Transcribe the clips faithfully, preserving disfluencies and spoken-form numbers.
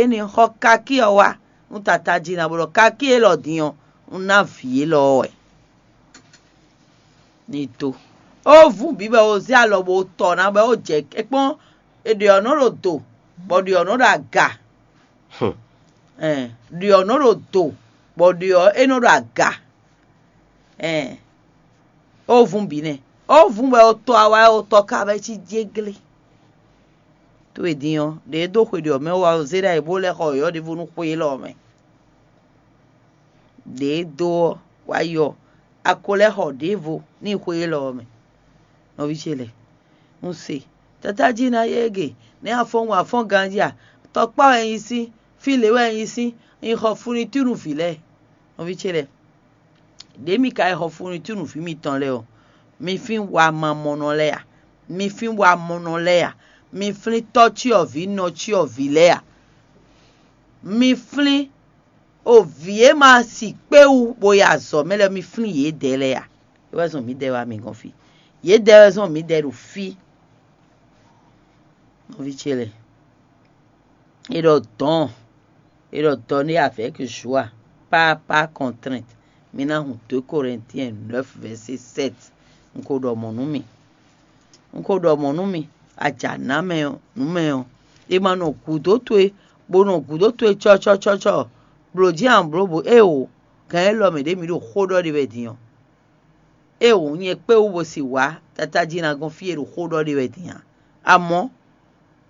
Énɛ́ xɔ kákí ɔ́ wá nú tata jí ná, bó ɖɔ kákí élɔ́ din ɔ́, un ná vǐ élɔ́ ɔ́ wɛ. Ní dó. Ó vú bǐ bɔ Ozée alɔ bó tɔ ná bɔ é jɛ é kpɔ́n, è ɖe ɔ́ nɔ ɖo do, bɔ ɖe ɔ́ nɔ ɖo aga. Ɛn, ɖe ɔ́ nɔ ɖo do, bɔ ɖe ɔ́ é nɔ ɖo aga. Ɛn, ó vún bǐ nɛ́. Ó vún bɔ ó tɔ awá, ó tɔ ka bɔ é cí jéglé. Towe din ɔ́, ɖě é dó xwe ɖě ɔ́ mɛ wá ɔ́, zé ɖ'ayǐ bó lɛ́ xɔ yɔ̌yɔ́ ɖěvo nú xwe élɔ́ ɔ́ mɛ. Ɖě é dó ɔ́ wá yi ɔ́, a ko lɛ́ xɔ ɖěvo n'i xwe élɔ́ ɔ́ mɛ. Nɔví ce lɛ́ɛ, un se, tata jí ná yé gě, nɛ̌ a fɔ́n wǎn fɔ́n ganjí a? Tɔkpá wɛ un nyí sín, fí lě wɛ un nyí sín, un xɔ funitúnu vǐ lɛ́ɛ. Nɔví ce lɛ́ɛ, ɖě mi ka yi xɔ funitúnu vǐ mitɔn lɛ́ɛ ɔ́, mi flín wamamɔnɔ lɛ́ɛ a? Mi flín wamɔnɔ lɛ́ɛ a? Mi flín tɔ́ cyɔvǐ nɔ cyɔvǐ lɛ́ɛ a? Mi flín o vǐ e ma si kpé wú bó yi azɔ̌ mɛ lɛ́ɛ, mi flín yědɛɛ lɛ́ɛ a? É wɛ zɔn mǐdɛɛ wá mi gɔ́n fí. Yědɛɛ wɛ zɔn mǐdɛɛ ɖo fí. Nɔví ce lɛ́ɛ, è ɖɔ dɔ̌n, è ɖɔ dɔ̌n ɖé avec joie, pas par contrainte. Mi ná hun deux Corinthiens neuf verset sept. Un ko ɖɔ mɔ̌ nú mi. Un ko ɖɔ mɔ̌ nú mi, a jǎ ná mɛ ɔ́, nǔ mɛ ɔ́, è ma nɔ gǔdo towe, bó nɔ gǔdo towe cɔ́cɔ́cɔ́cɔ́, blǒ jí a nɔ blǒ bǒ éeǒ, gǎn élɔ́ mɛ ɖě mi ɖo xó ɖɔ ɖe wɛ din ɔ́. Éeǒ, nyɛ kpé wú bó si wǎ tata jí ná gɔ́n fí e ɖo xó ɖɔ ɖe wɛ din ǎ. Amɔ̌,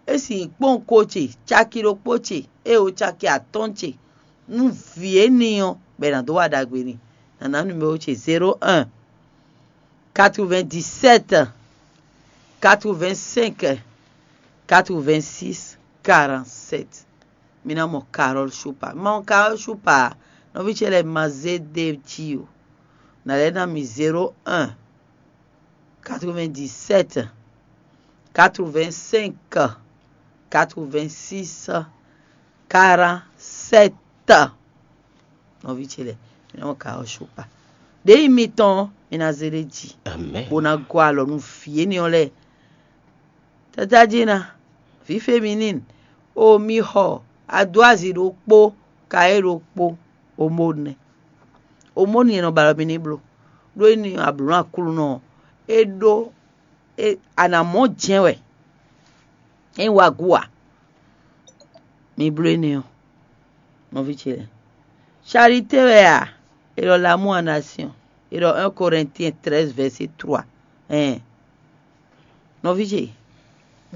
é sin kpɔ́n ko ce, caki ɖokpó ce, éeǒ caki atɔ́ɔ́n ce, nú vǐ énɛ́ ɔ́, bɔ è nǎ dó wa ɖagbe n'i. Nǎ ná numéro ce zéro un, quatre-vingt-dix-sept, quatre-vingt-cinq, quatre-vingt-six, quarante-sept. Mi ná mɔ Carole Choupa. Ma mɔ Carole Choupa, nɔví ce lɛ́ɛ ma zé ɖ'é jí o. Nǎ lɛ́ ná mi zéro un, quatre-vingt-dix-sept, quatre-vingt-cinq, quatre-vingt-six, quarante-sept. Nɔví ce lɛ́ɛ, mi ná mɔ Carole Choupa. Ɖěe nyí mitɔn ɔ́, mi ná zé ɖ'é jí, bó ná gɔ́ alɔ nú vǐ énɛ́ ɔ́ lɛ́ɛ. Tata jí ná, vǐ féminine, o mi xɔ adó azi ɖokpó, ka é ɖokpó, omónu nɛ́. Omónu e nɔ ba alɔ mi ní bló, ɖó é ní ablǒ nú Aklúnɔ ɔ́, é ɖó, é, a nǎ mɔ jɛ́n wɛ, é nyí wagú ǎ. Mi bló énɛ́ ɔ́, nɔví ce lɛ́ɛ. Charité wɛ a? È ɖɔ l'amour en action. È ɖɔ un Corinthiens treize verset trois. Ɛn, nɔví ce,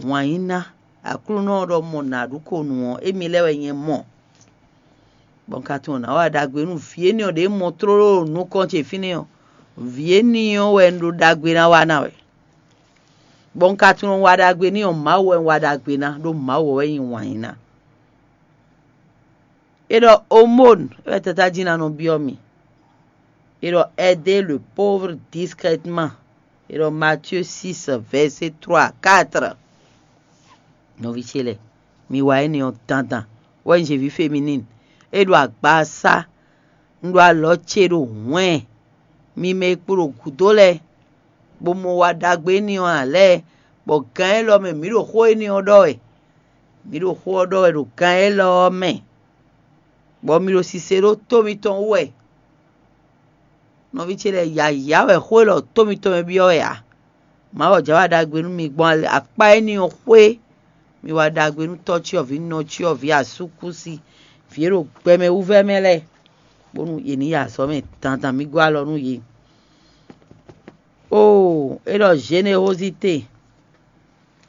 wǎn yí ná, Aklúnɔ ɔ́ ɖɔ mɔ nǎ ɖu ko nǔ ɔ́, émí lɛ́ɛ wɛ nyɛ mɔ. Bɔ un ka tunwun nǎ wa ɖagbe nú vǐ énɛ́ ɔ́ ɖě mɔ tlóló ɖo nukɔn ce fínɛ́ ɔ́, vǐ énɛ́ ɔ́ wɛ un ɖo ɖagbe ná wa ná wɛ. Bɔ un ka tunwun wa ɖagbe n'i ɔ́, Mawu wɛ un wa ɖagbe ná, ɖó Mawu wɛ nyí wǎn yí ná. È ɖɔ omónu wɛ tata jí ná nɔ byɔ́ mì. È ɖɔ aider le pauvre discrètement. È ɖɔ Matthieu six, verset trois à quatre. Nɔví ce lɛ́ɛ, mi wa énɛ́ ɔ́ dandan, wɛ un zě vǐ féminine. É ɖo agbaza, un ɖo alɔ ce ɖo hwɛ̌n, mi mɛ e kpo ɖo gǔdo lɛ́ɛ, bó mɔ wa ɖagbe énɛ́ ɔ́ ǎ lɛ́ɛ, bɔ gan élɔ́ mɛ mǐ ɖo xó énɛ́ ɔ́ ɖɔ wɛ. Mǐ ɖo xó ɔ́ ɖɔ wɛ ɖo gan élɔ́ ɔ́ mɛ, bɔ mi ɖo sise ɖó tó mitɔn wú wɛ. Nɔví ce lɛ́ɛ, yǎyá wɛ xó élɔ́ tó mitɔn mɛ byɔ́ wɛ ǎ. Mawu jǎ wa ɖagbe nú mi gbɔn akpá énɛ́ ɔ́ xwé. Mi wa ɖagbe nú tɔ́ cyɔvǐ, nɔ cyɔvǐ, asúkúsi, vǐ e ɖo gbɛmɛ wú vɛ́ mɛ lɛ́ɛ, bónú yě ní yi azɔ̌ mɛ dandan, mǐ gɔ́ alɔ nú yě. Oo, é ɖɔ générosité,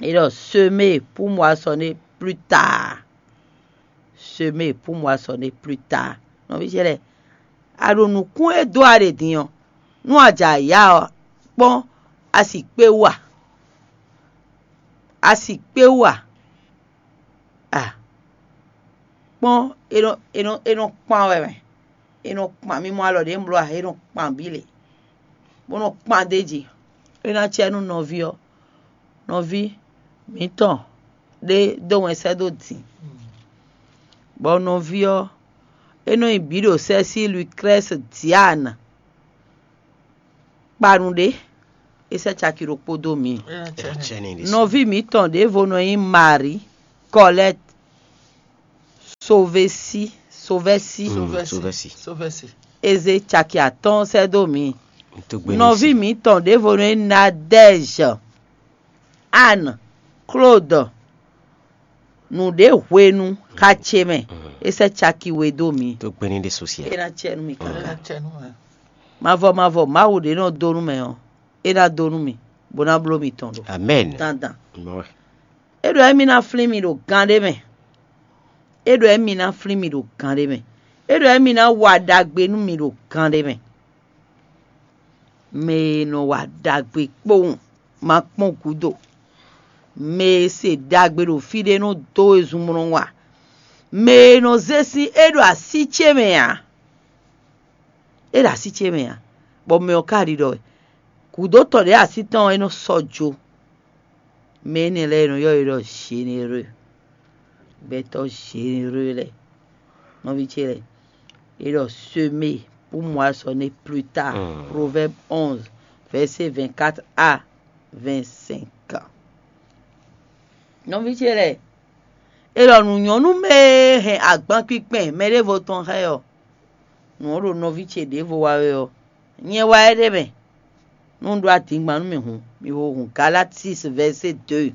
é ɖɔ semer pour moissonner plus tard. Semer pour moissonner plus tard. Nɔví ce lɛ́ɛ, a ɖo nǔkún e dó a ɖe din ɔ́, nú a jɛ ayǎ ɔ́, kpɔ́n a si kpé wú a? A si kpé wú a? A kpɔ́n, é nɔ é nɔ é nɔ kpan wɛ mɛ. É nɔ kpan, mi mɔ alɔ ɖě un bló a? É nɔ kpan bǐ lě, bó nɔ kpan d'é jí. É ná cɛ nú nɔví ɔ́, nɔví mǐtɔn ɖé dó wɛn sɛ́ dó din, bɔ nɔví ɔ́, é nɔ nyi bǐ ɖo sɛ́ sí Lucrèce Diane. Kpanu ɖé, é sɛ́ caki ɖokpó dó mǐ. Nɔví mǐtɔn ɖěvo nɔ nyí Marie Colette. Sovesi, Sovɛsi. Mm, Sovɛsi. Sovɛsi. Eze caki atɔ́ɔ́n sɛ́ dó mǐ. Tó gbé ní Nɔví sí. Mǐtɔn ɖěvo nɔ nyí Nadège. Anne, Claude, nǔɖé hwenu xá ce mɛ. É sɛ́ caki we dó mǐ. Tó gbé ní ɖe sosiɛ. É ná cɛ nú mì káká. Ena cɛ nú mɛ. Mavɔ mavɔ Mawu ɖě nɔ dó nú mɛ ɔ́, é ná dó nú mì, bó ná bló mitɔn ɖo. Amen. Dandan. Mɔ wɛ. É ɖɔ émí ná flín mi ɖo gán ɖé mɛ. É ɖɔ émí ná flín mi ɖo gán ɖé mɛ. É ɖɔ émí ná wa ɖagbe nú mi ɖo gán ɖé mɛ. Mɛ e nɔ wa ɖagbe kpowun ma kpɔ́n gǔdo. Mɛ e se ɖagbe ɖo fí ɖé nɔ dó wezun mlɔ́ wa. Mɛ e nɔ zé sín é ɖo así ce mɛ ǎ. É ɖo así ce mɛ ǎ. Bɔ mɛ ɔ́ ka ɖiɖɔ wɛ. Gǔdo tɔn ɖě así tɔn ɔ́ é nɔ sɔ́ jo. Mɛ énɛ́ lɛ́ɛ è nɔ ylɔ́ yě ɖɔ Zhenéreux. Gbɛtɔ́ Zhenéreux lɛ́ɛ. Nɔví ce lɛ́ɛ. É ɖɔ semé pour moi ce n'est plus tard. Mm. Proverbe onze, verset vingt-quatre à vingt-cinq. Nɔví ce lɛ́ɛ. É ɖɔ nǔ nyɔ́ nú mɛ e hɛn agban kpinkpɛn mɛ ɖěvo tɔn xá ɛ ɔ́. Nǔ ɔ́ ɖo nɔví ce ɖěvo wa wɛ ɔ́. Nyɛ wá ɛ ɖ'é mɛ. Nú un ɖó adingban nú mì hǔn, mì ho hǔn Galati six verset deux.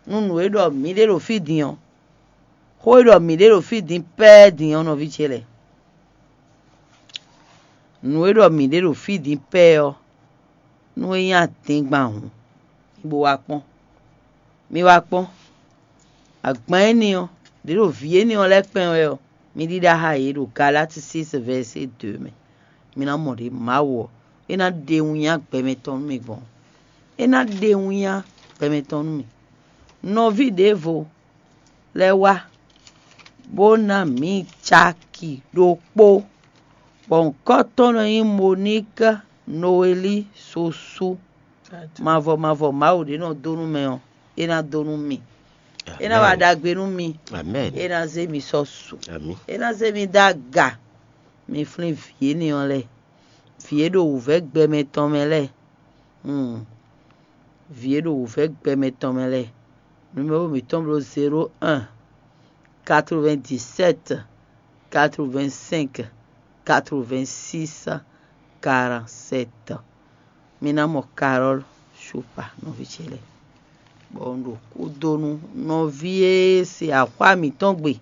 Nú nǔ e ɖɔ mǐ ɖe ɖo fí din ɔ́, xó e ɖɔ mǐ ɖe ɖo fí din pɛ́ɛ din ɔ́, nɔví ce lɛ́ɛ. Nǔ e ɖɔ mǐ ɖe ɖo fí din pɛ́ɛ ɔ́, nú é nyí adingban hǔn, mi bo wá kpɔ́n. Mi wá kpɔ́n. Agban énɛ́ ɔ́, ɖě ɖo vǐ énɛ́ ɔ́ lɛ́ɛ kpɛn wɛ ɔ́, mi ɖíɖá xá yě ɖo Galati six verset deux mɛ. Mi ná mɔ ɖě Mawu ɔ́, é ná ɖe winnyá gbɛmɛ tɔn nú mi gbɔn. É ná ɖe winnyá gbɛmɛ tɔn nú mi. Nɔví ɖěvo lɛ́ɛ wá, bó ná mǐ caki ɖokpó, bɔ nyǐkɔ tɔn nɔ nyí Moník Nowelí Sosú. Mavɔ mavɔ Mawu ɖě nɔ dó nú mɛ ɔ́, é ná dó nú mi. É ná wa ɖagbe nú mi. Amen. É ná zé mi sɔ́ su. Ami. É ná zé mi dó aga. Mi flín vǐ énɛ́ ɔ́ lɛ́ɛ. Vǐ e ɖo wǔvɛ́ gbɛmɛ tɔn mɛ lɛ́ɛ. Hmm. Vǐ e ɖo wǔvɛ́ gbɛmɛ tɔn mɛ lɛ́ɛ. Numéro mǐtɔn bló zéro un, quatre-vingt-dix-sept, quatre-vingt-cinq, quatre-vingt-six, quarante-sept. Mi ná mɔ Carole Choupa nɔví ce lɛ́ɛ. Bɔ un ɖo kúdonu nɔví e se axwá mǐtɔn gbe.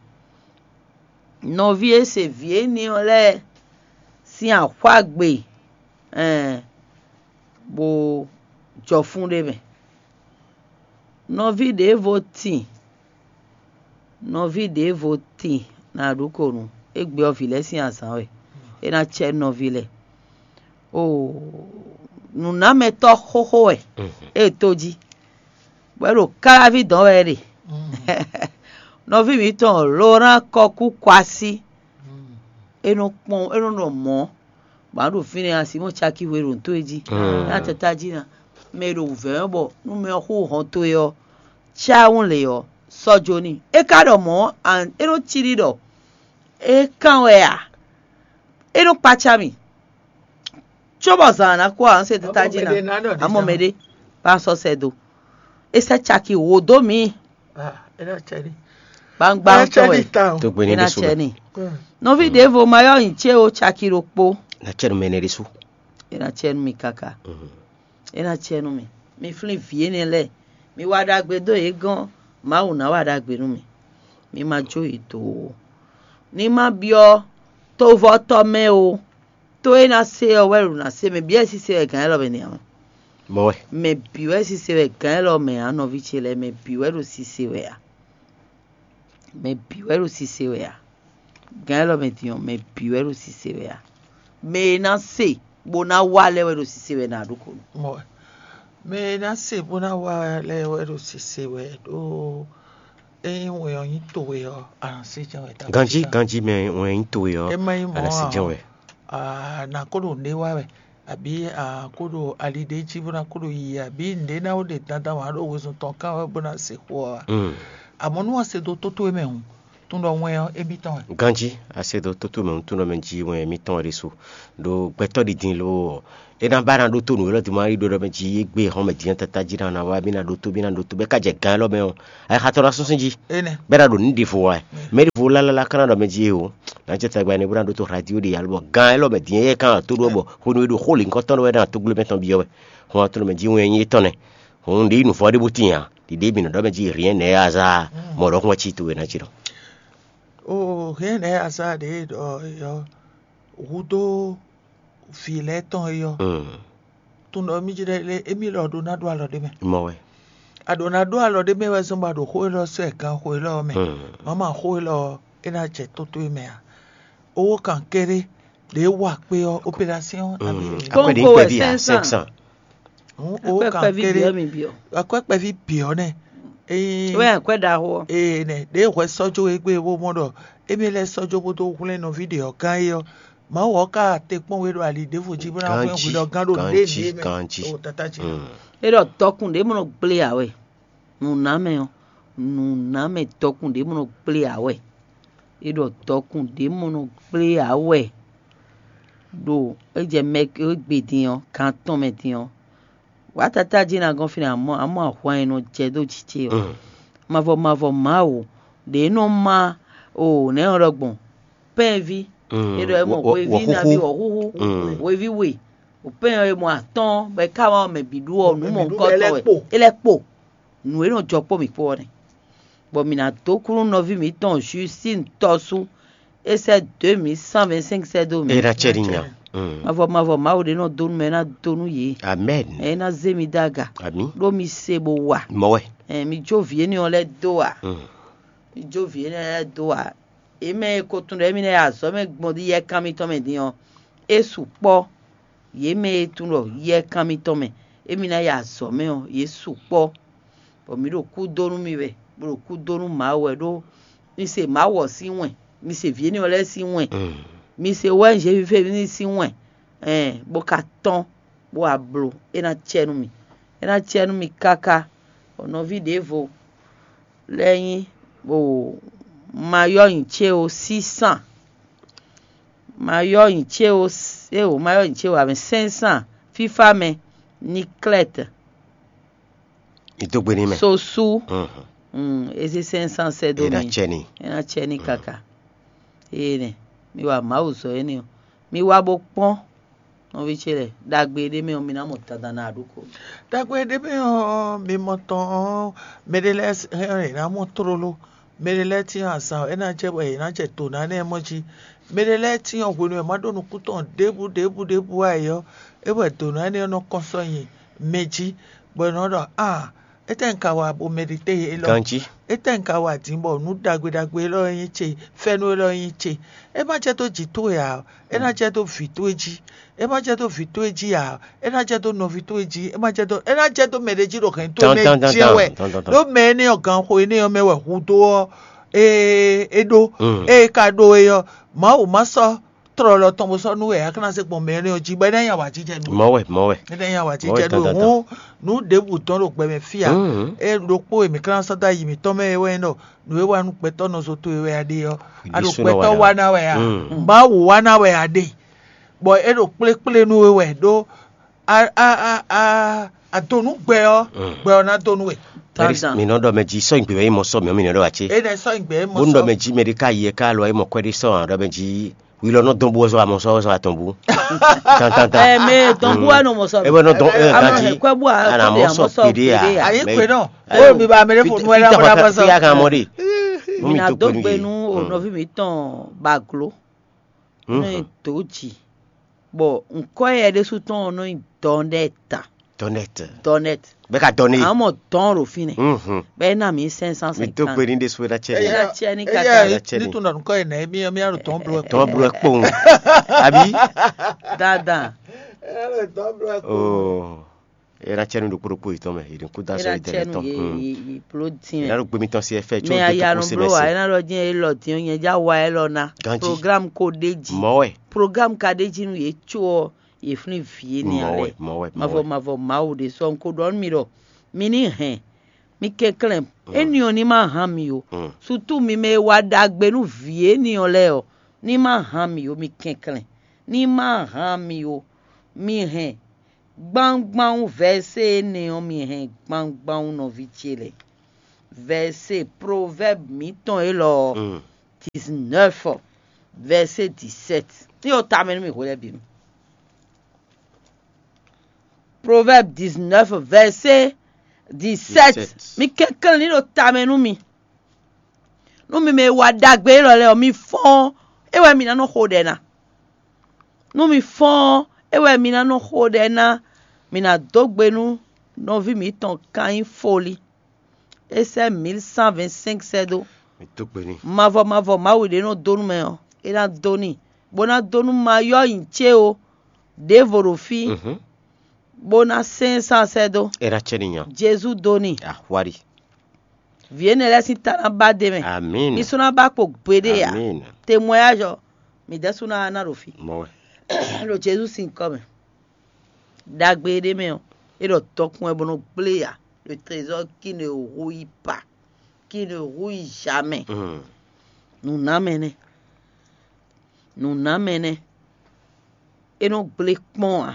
Nɔví e se vǐ énɛ́ ɔ́ lɛ́ɛ sín axwá gbe. Ɛn, bó jɔ fún ɖé mɛ. Nɔví ɖěvo tin, nɔví ɖěvo tin na ɖu ko nu. Égbé ɔ́ vǐ lɛ́ɛ sín azǎn wɛ. É ná cɛ nɔví lɛ́ɛ. Oo, nǔnámɛtɔ́ xóxó wɛ. É tó jí. Bɔ é ɖo káláví dɔn wɛ é ɖe. Nɔví mǐtɔn Laurent Kɔkú Kwasí. É nɔ kpɔn, é nɔ nɔ mɔ̌. Bɔ a ɖo fínɛ́ a Simɔ́ɔ caki hwe ɖo nǔ towe jí. Nya tata jí ná. Mɛ e ɖo wǔvɛ́ ɔ́ bɔ nú mɛ ɔ́ xú hɔn towe ɔ́, cáwún lě ɔ́, sɔ́ jó n'i. É ka ɖɔ mɔ̌ ɔ́, é nɔ cí ɖi ɖɔ é kán wɛ a? É nɔ kpácá mì. Cóbɔ zǎn ná kú ǎ, un se tata jí ná. Amɔ mɛ ɖé, ba sɔ sɛ do. É sɛ́ caki wǒ dó mǐ. Gbangba ŋutɔ wɛ. Tó gbé ní É ná ɖésú. Cɛ ni. Nɔví ɖěvo ma yɔ nyi cé o caki ɖokpó. Na cɛ nu mɛ ne ɖésú. É ná cɛ nu mi kaka. É ná cɛ nu mi. Mi flín vǐ énɛ́ lɛ́ɛ. Mi wa ɖagbe dó yě gɔ́n. Mawu ná wa ɖagbe nú mi. Mi ma jó yě dó o. Ní ma byɔ́ tovɔtɔ́ mɛ o. Tó e ná se ɔ́ wɛ ɖo ná se mɛ byɔ́ ɛ sise wɛ gǎn élɔ́ mɛ nɛ́ ɔ́. Mɔ wɛ. Mɛ bǐ wɛ sise wɛ gǎn élɔ́ mɛ ǎ, nɔví ce lɛ́ɛ, mɛ bǐ wɛ ɖo sise wɛ ǎ. Mɛ bǐ wɛ ɖo sise wɛ ǎ. Gǎn élɔ́ mɛ din ɔ́, mɛ bǐ wɛ ɖo sise wɛ ǎ. Mɛ e ná se bó ná wa lɛ́ɛ wɛ ɖo sise wɛ ná ɖó ko nú. Mɔ wɛ. Mɛ e ná se bó ná wa lɛ́ɛ wɛ ɖo sise wɛ ɖó ényí wɛn ɔ́ nyí towe ɔ́, a nǎ se jɛ́n wɛ. Ganjí ganjí mɛ wɛn nyí towe ɔ́. É má nyí mɔ̌ A nǎ se ǎ jɛ́n ɔ́, wɛ. a nǎ kó ɖo nǔɖé wa wɛ, abǐ a kó ɖo ali ɖé jí bó ná kó ɖo yiyi, abǐ nǔɖé ná ó ɖe dandan wǎn ɖo wezun tɔn kán wɛ bó ná se xó ɔ́ wá. Mm. Amɔ̌ nú a se dó tó towe mɛ hǔn, tún ɖɔ wɛn ɔ́ émítɔn wɛ. Ganjí, asedo tótó mɛ nutúnɔ mɛ jí wɛn émítɔn wɛ ɖésú. Ɖo gbɛtɔ́ ɖi din lo ɔ́, é ná ba ná ɖótó nǔ élɔ́ din ma yi ɖó ɖɔ mɛ jí é gbé hɔn mɛ dín tata jí ná ná wá bí ná ɖótó bí ná ɖótó bɛ ká jɛ gán élɔ́ mɛ ɔ́, ayixatɔ́ ná súnsún jí. Énɛ́. Bɛ ná ɖo nǔ ɖěvo wá. Mɛ ɖěvo lálálá ká ná ɖɔ mɛ jí é o. Ná jɛ tagba ne bó ná ɖótó radio ɖe alo bɔ gán élɔ́ mɛ dín é ká tó ɖó bɔ hwenu e ɖo xó lǐnkɔtɔn ɖɔ wɛ ná tógblé mɛ tɔn byɔ́ wɛ. Hɔn tó mɛ jí wɛn nyí étɔn nɛ́. Hɔn ɖě yi nǔvɔ́ ɖé bó tín ǎ. Ɖiɖe mi nɔ ɖɔ mɛ jí rien n'est hasard. Mɔ ɖɔ xɔ́n cí towe ná cí ɖɔ. O rien n'est hasard ɖě ɖɔ yɔ hudó vǐ lɛ́ɛ tɔn é yɔ. Tun ɖɔ mí jí ɖɛ lé émí lɔ ɖó ná ɖó alɔ ɖé mɛ. Mɔ wɛ. A ɖǒ ná ɖó alɔ ɖé mɛ wɛ zɔ́n bɔ a ɖo xó élɔ́ sɔ́ ɛ ganxó élɔ́ ɔ́ mɛ. Mama xó élɔ́ ɔ́, é ná jɛ tó towe mɛ ǎ. Owó kan kéré ɖě wa kpé ɔ́, opération ná bí. Akwɛ́ ɖě Kónkó wɛ kpɛví ǎ, cinq cents. Hǔn owó Akwɛ́ kan kpɛví kéré bǐ ɔ́ mi byɔ́. Akwɛ́ kpɛví bǐ ɔ́ nɛ. Ényí Wɛ akwɛ́ ɖaxó ɔ́. Ee nɛ ɖě hwɛ sɔ́ jó e gbé bó mɔ ɖɔ émí lɛ́ sɔ́ jó bó dó hwlɛ́n nɔví ɖě ɔ́ gán é ɔ́, Mawu ɔ́ ka te kpɔ́n we ɖo ali ɖěvo jí bó ná hwlɛ́n hwi ɖɔ gán ɖo ɖě ɖě mɛ. Ganjí. O tata ce. É ɖɔ dɔkun ɖě mɔ nɔ gblé ǎ wɛ. Nǔnámɛ ɔ́, nǔnámɛ dɔkun ɖě mɔ nɔ gblé ǎ wɛ. É ɖɔ dɔkun ɖě mɔ nɔ gblé ǎ wɛ. Ɖo é jɛ mɛ e gbe din ɔ́, gan tɔn mɛ din ɔ́, wǎ tata jí ná gɔ́n fínɛ́ amɔ̌ amɔ̌ ahwan e nɔ jɛ dó jǐ ce ɔ́. Mavɔ mavɔ Mawu ɖě nɔ má o nɛ̌ ɔ́ ɖɔ gbɔn pɛ́nví. É ɖɔ é mɔ hweví nabí wɔ̌xúxú, hweví we, o pɛ́n ɔ́ e mɔ atɔ́ɔ́n bɔ é ká wá mɛ bǐ ɖu ɔ́ nǔ mɔ nukɔntɔn wɛ. É lɛ́ kpo. Nǔ e nɔ jɔ kpó mǐ kpó ɔ́ nɛ́. Bɔ mǐ ná dó kú nú nɔví mǐtɔn Justín tɔ́sú. É sɛ́ deux mille cent vingt-cinq sɛ́ dó mǐ. É ná cɛ ní nya. Mavɔ mavɔ Mawu ɖé nɔ dó nú mɛ ná dó nú yě. Amɛn. Ɛ é ná zé mi dó aga. Ami. Ɖó mi se bó wa. Mɔ wɛ. Ɛ mi jó vǐ énɛ́ ɔ́ lɛ́ dó a. Mi jó vǐ énɛ́ lɛ́ dó a. È mɛ e ko tunwun ɖɔ émí ná yi azɔ̌ mɛ gbɔn ɖi yɛ kan mitɔn mɛ din ɔ́, é sukpɔ́. Yě mɛ e tunwun ɖɔ yɛ kan mitɔn mɛ émí ná yi azɔ̌ mɛ ɔ́, yě sukpɔ́. Bɔ mǐ ɖo kú dó nú mi wɛ, bó ɖo kú dó nú Mawu wɛ ɖó mi se Mawu ɔ́ sín wɛn, mi se vǐ énɛ́ ɔ́ lɛ́ɛ sín wɛn, mi se wɛ́ Zézufévini sín wɛn, ɛn bó ka tɔ́n, bó wá bló, é ná cɛ nú mi, é ná cɛ nú mi káká. Bɔ nɔví ɖěvo lɛ́ɛ nyí bó ma yɔ́ nyi cé o sísan, ma yɔ́ nyi cé o, éwo ma yɔ́ nyi cé o avɛn sɛ́nsán fífá mɛ ní klɛ́t. Ìdógbe ní mɛ. Sosu. Eze sɛ́nsán sɛ́ dó mi. Ena cɛ ní. Ena cɛ ní kaka. Eye nɛ mi wa Mawu zɔ énɛ́ ɔ́, mi wá bó kpɔ́n nɔví ce lɛ́ɛ ɖagbe ɖé mɛ ɔ́, mi ná mɔ dandan ná ɖokó. Ɖagbe ɖé mɛ ɔ́, mi mɔ tɔn ɔ́, mɛ ɖé lɛ́ɛ hɛn ɔ́, è nǎ mɔ tlóló. Mɛ ɖé lɛ́ɛ cyɔ́n azǎn ɔ́, é ná jɛ bɔ è nǎ jɛ dǒ ná énɛ́ mɔ jí. Mɛ ɖé lɛ́ɛ cyɔ́n hwenu e è ma ɖó nukún tɔn ɖěbǔ ɖěbǔ ɖěbǔ ǎ é ɔ́, é wɛ dǒ ná énɛ́ ɔ́ nɔ kɔn sɔ́ nyi mɛ jí, bɔ è nɔ ɖɔ: "Aa, étɛ́ un ka wa bo mɛɖitɛ́ élɔ́? Ganjí. Étɛ́ un ka wa din bɔ nǔ ɖagbe ɖagbe élɔ́ e nyí ce, fɛ́nú élɔ́ e nyí ce? É ma jɛ dó jǐ towe ǎ, é ná jɛ dó vǐ towe jí. É ma jɛ dó vǐ towe jí ǎ, é ná jɛ dó nɔví towe jí. É ma jɛ dó, é ná jɛ dó mɛ ɖé jí ɖo hɛ̌n towe mɛ jɛ́n wɛ. Ɖó mɛ énɛ́ ɔ́, ganxo énɛ́ ɔ́ mɛ wɛ hudó ɔ́ é é ɖó. Ée é ka ɖó é ɔ́, Mawu ma sɔ́ tlɔlɔ tɔn bó sɔ́ nú wɛ ǎ, é ká ná zé gbɔn mɛ énɛ́ ɔ́ jí, bɔ é ná nyí awǎjijɛ nú we. Mɔ̌ wɛ, mɔ̌ wɛ. É ná nyí awǎjijɛ nú we. Hǔn nǔ ɖěbǔ dɔn ɖo gbɛ mɛ fí ǎ. É ɖokpó e mǐ ká ná sɔ́ dó ayi mǐtɔn mɛ é wɛ nyí ɖɔ nǔ e wa nú gbɛtɔ́ nɔ zo towe wɛ a ɖe ɔ́, a ɖo gbɛtɔ́ wa ná wɛ a? Mawu wa ná wɛ a ɖe, bɔ é ɖo kplékplé nú we wɛ ɖó a a a a a do nú gbɛ ɔ́, gbɛ ɔ́ ná do nú we. Mǐ nɔ ɖɔ mɛ jí sɔ́ nyǐgbe wɛ nyí mɔ sɔ́ mǐ ɔ́ mǐ nɔ ɖɔ wá cé? É nɛ sɔ́ nyǐgbe mɔ sɔ́. Bó nú ɖɔ mɛ jí mɛ ɖé ká yi ɛ ká lɔ é mɔ kwɛ́ ɖé sɔ́ ǎ, ɖɔ mɛ jí wi lɔ nɔ dɔn bú ɔ́ zɔ amɔ sɔ́ ɔ́ zɔ atɔn bú. Tantantan. Ɛ mɛ dɔn bú wɛ nɔ mɔ sɔ́. É wɛ nɔ dɔn ɛ ganjí. Kwɛ́ bú a ana mɔ sɔ́ pěɖé a. Ayi kpe nɔ. Ó mi ba mɛ ɖé fo nu wɛ ɖa mɔ ɖa mɔ sɔ́. Fi a kan mɔ ɖe. Mǐ ná dó gbe nú o nɔví mǐtɔn Baglo. Nɔ nyi dǒ jǐ, bɔ ŋkɔ́ yɛ ɖésú tɔn ɔ́ nɔ nyi Dɔnɛt. Dɔnɛt. Dɔnɛt. Bɛ ka dɔn ne. Amɔ dɔn ɖo fínɛ́. Bɛ é ná mǐ sɛn sán Mi sɛn do kan. Gbe ní ɖésú ɛ ná cɛ Ɛ ní. Ná cɛ ní Eya, kaka. Eya, Ɛ ná cɛ ní ní. Tún nɔ nukɔ yɛ nɛ mi mi alo tɔn blɔ. Tɔn blɔ kpɔn. Abi. Dandan. Ɛ alo tɔn blɔ kpɔn. Oh. Ɛ ná cɛ ní ɖokpó ɖokpó yìí tɔn mɛ, yìí ní kú dá sɔ Ena yìí tɛlɛ cɛnu tɔn. Ye Hmm. Ye ye blo Ɛ dín ná mɛ. Ɖo gbemi tɔn si ɛ fɛ tso Mɛ dé ayanu kókó blo wa sɛmɛsɛ. Ena lɔ dín ye lɔ dín ye ja wa ye lɔ na. Ganji. Programme ko ɖe ji. Mɔ wɛ. Programme ka ɖe ji nu ye tso ɔ ye flin vie ni Mɔ wɛ, alɛ. Mɔ wɛ, mɔ Mavɔ wɛ. Mavɔ Mawu ɖe sɔ nko ɖɔ mi ɖɔ mi ni hɛn mi kɛnklɛ́n, éni ɔ́ ní ma hán mi ó. Sutu mi mɛ e wa ɖagbe nú vǐ éni ɔ́ lɛ́ɛ ɔ́, ní ma hán mi ó, mi kɛnklɛ́n, ní ma hán mi ó. Mi hɛn gbangban vɛ̌sé énɛ́ ɔ́, mi hɛn gbangban nɔví ce lɛ́ɛ. Vɛ̌sé Proverbes mǐtɔn élɔ́ ɔ́, dix-neuf, vɛ̌sé dix-sept. Ní o tamɛ nú mi hwe lɛ́ɛ bǐ nu. Proverbes dix-neuf, vɛ̌sé dix-sept. Mi kɛnklɛ́n ní ɖo tamɛ nú mi. Nú mi mɛ e wa ɖagbe élɔ́ lɛ́ɛ ɔ́, mi fɔ́n ɔ́, é wɛ mi ná nɔ xo ɖɛ ná. Nú mi fɔ́n ɔ́, é wɛ mi ná nɔ xo ɖɛ ná. Mi ná dó gbe nú nɔví mǐtɔn Kain Foli. É sɛ́ mil cent vingt-cinq sɛ́ dó. Mi dó gbe n'i. Mavɔ mavɔ Mawu ɖě nɔ dó nú mɛ ɔ́, é ná dó n'i, bó ná dó nú mayɔ́ nyi cé o, ɖěvo ɖo fí, bó ná sɛ́n sán sɛ́ dó. É ná cɛ n'i nya. Jezu dó n'i. Ahwari. Vǐ énɛ́ lɛ́ɛ sín ta ná ba d'é mɛ. Amín. Mi sɔ́ ná ba kpo gbeɖé ǎ. Amín. Temwɛ́yájɔ, mi dɛ́ sú ná ná ɖo fí. Mɔ wɛ. Ɖo Jezu sín kɔ mɛ. Ɖagbe e ɖ'é mɛ ɔ́, é ɖɔ dɔkun wɛ bó nɔ gblé ǎ. Le trésor qui ne rouille pas, qui ne rouille jamais. Nǔ ná mɛ nɛ́. Nǔ ná mɛ nɛ́. É nɔ gblé kpɔ́n ǎ.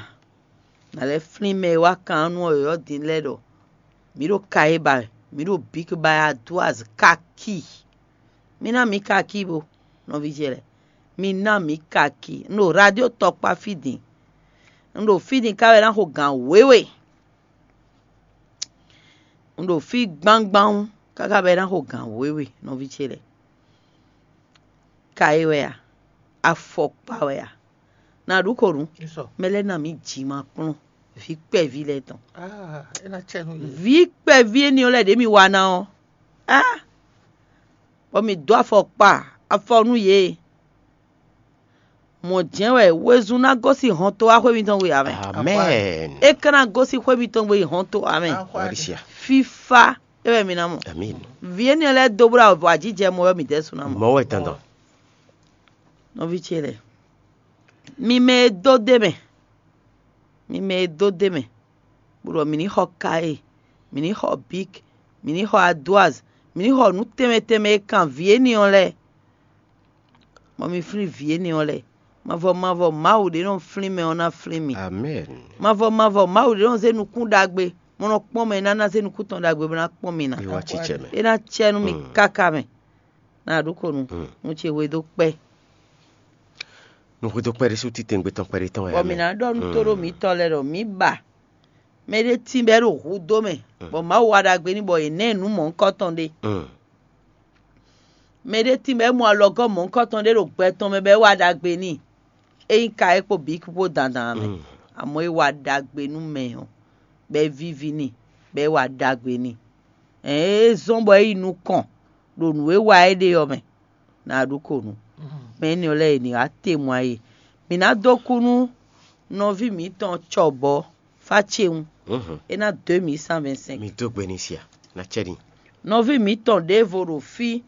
Nǎ lɛ́ flín mɛ e wá kan ɔ́ nú ɔ́ yɔ̌yɔ́ din lɛ́ɛ ɖɔ: "Mǐ ɖo ka e ba wɛ, mǐ ɖo bǐk ba wɛ, a dó azǐ káki." Mi ná mǐ káki bo, nɔví ce lɛ́ɛ. Mi ná mǐ káki. Un ɖo radio tɔkpá fí din. Un ɖo fí din ká wɛ ná xo gǎn wěwe. Un ɖo fí gbangban káká bɔ é ná xo gǎn wěwe, nɔví ce lɛ́ɛ. Ka é wɛ a? Afɔkpa wɛ a? Na ɖu ko nǔ. Mɛ lɛ́ɛ ná mǐ jǐ ma kplɔ́n vǐ kpɛví lɛ́ɛ tɔn. Vǐ kpɛví énɛ́ ɔ́ lɛ́ɛ ɖě mi wa ná ɔ́, á, bɔ mǐ dó afɔkpa afɔ nú yě. Mɔ̌ jɛ́n wɛ wezun ná gosín hɔntowaxwé mitɔn gbe ǎ mɛ. Amɛn. É ka ná gosín xwé mitɔn gbe yi hɔntowa mɛ. Fífá é wɛ mi ná mɔ. Amín. Vǐ énɛ́ lɛ́ɛ dó bó ɖo avɔ ajijɛ mɔ wɛ mi dɛ́ sú ná mɔ. Mɔ̌ wɛ dandan. Nɔví ce lɛ́ɛ, mi mɛ e dó d'é mɛ, mi mɛ e dó d'é mɛ, bó ɖɔ mǐ ní xɔ Kaye, mǐ ní xɔ Bík, mǐ ní xɔ Aduaz, mǐ ní xɔ nǔ tɛnmɛ tɛnmɛ e kan vǐ énɛ́ ɔ́ lɛ́ɛ, bɔ mi flín vǐ énɛ́ ɔ́ lɛ́ɛ. Mavɔ mavɔ Mawu ɖě nɔ flín mɛ ɔ́ ná flín mi. Amɛn. Mavɔ mavɔ Mawu ɖě nɔ zé nukún ɖagbe, bó nɔ kpɔ́n mɛ, é ná ná zé nukún tɔn ɖagbe bó ná kpɔ́n mi ná. É wá cícɛ mɛ. É ná cɛ nú mi káká mɛ. Na ɖu ko nu, nu ce hwe dó kpɛ́. Nu hwe dó kpɛ́ ɖésú titewungbe tɔn kpɛɖé tɔn wɛ. Bɔ mǐ ná ɖɔ nú tóɖó mǐtɔn lɛ́ɛ ɖɔ mǐ ba mɛ ɖé tín bɔ é ɖo hudó mɛ, bɔ Mawu wa ɖagbe n'i bɔ è nɛ́ nǔ mɔ̌hunkɔtɔn ɖé. Mɛ ɖé tín bɔ é mɔ alɔgɔ́ mɔ̌hunkɔtɔn ɖé ɖo gbɛ tɔn mɛ bɔ é wa ɖagbe n'i. É nyí ka é kpo bǐ kpó dandan mɛ. Amɔ̌ é wa ɖagbe nú mɛ ɔ́, bɔ é víví n'i, bɔ é wa ɖagbe n'i. Ɛ̌n, é zɔ́n bɔ é yi nukɔn ɖo nǔ e wa é ɖe ɔ́ mɛ. Na ɖu ko nu. Mɛ énɛ́ lɛ́ɛ è nǐ wá te mɔ ayé. Mǐ ná dó kú nú nɔví mǐtɔn cɔbɔ̌ fá ce ŋu. É ná dó mǐ cent vingt cinq. Mi dó gbe n'i sia, ná cɛ n'i. Nɔví mǐtɔn ɖěvo ɖo fí,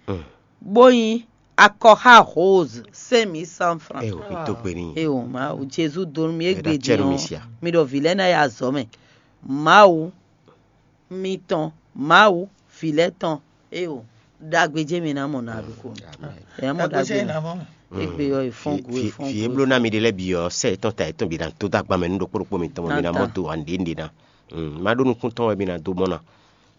bó nyí akɔxá Rose, cinq mille cent francs. Eo, mi dó gbe n'i. Eo, Mawu, Jezu dó nú mì égbé din ɔ́, mi ɖɔ vǐ lɛ́ɛ ná yi azɔ̌ mɛ. Mawu mitɔn, Mawu, vǐ lɛ́ɛ tɔn, eo, ɖagbe jɛ́n mi ná mɔ na ɖokpó. Ɛ mɔ ɖagbe. Égbé ɔ́, è fɔ́n gu, è fɔ́n gu. Vǐ e bló ná mi ɖe lɛ́ɛ bǐ ɔ́, sɛ yětɔn ta yětɔn bǐ ná dó dó agban mɛ nú ɖokpó ɖokpó mitɔn mɔ mi ná mɔ do ǎ nɖě nɖě ná. Má ɖó nukúntɔn wɛ mi ná dó mɔ ná.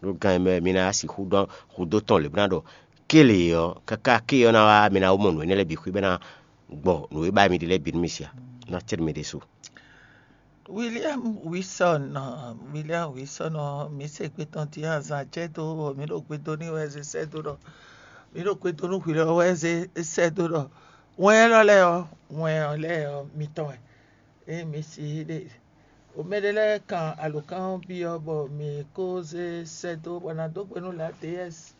Ɖó gan e mɛ mi ná sixú ɖɔ hudó tɔn lě bó ná ɖɔ kélé ɔ́, káká ké ɔ́ ná wá mi ná wó mɔ nǔ énɛ́ lɛ́ɛ bǐ xwí bɔ é ná gbɔ nǔ e ba mi ɖe lɛ́ɛ bǐ nú mi sia, ná cɛ mi ɖésú. William Wilson, William Wilson ɔ́, mǐ se gbe tɔn din azǎn jɛ dó, mǐ ɖo gbe dó n'i wɛ zé sɛ́ dó ɖɔ, mǐ ɖo gbe dó nú hwǐ lɛ́ɛ wɛ zé sɛ́ dó ɖɔ wɛn élɔ́ lɛ́ɛ ɔ́, wɛn ɔ́ lɛ́ɛ ɔ́ mitɔn wɛ. Ée mǐ si ɖe o mɛ ɖé lɛ́ɛ kan alǒkan ɔ́ byɔ́ bɔ mǐ ko zé sɛ́ dó bɔ ná dó gbe nú Ladeyɛ́si.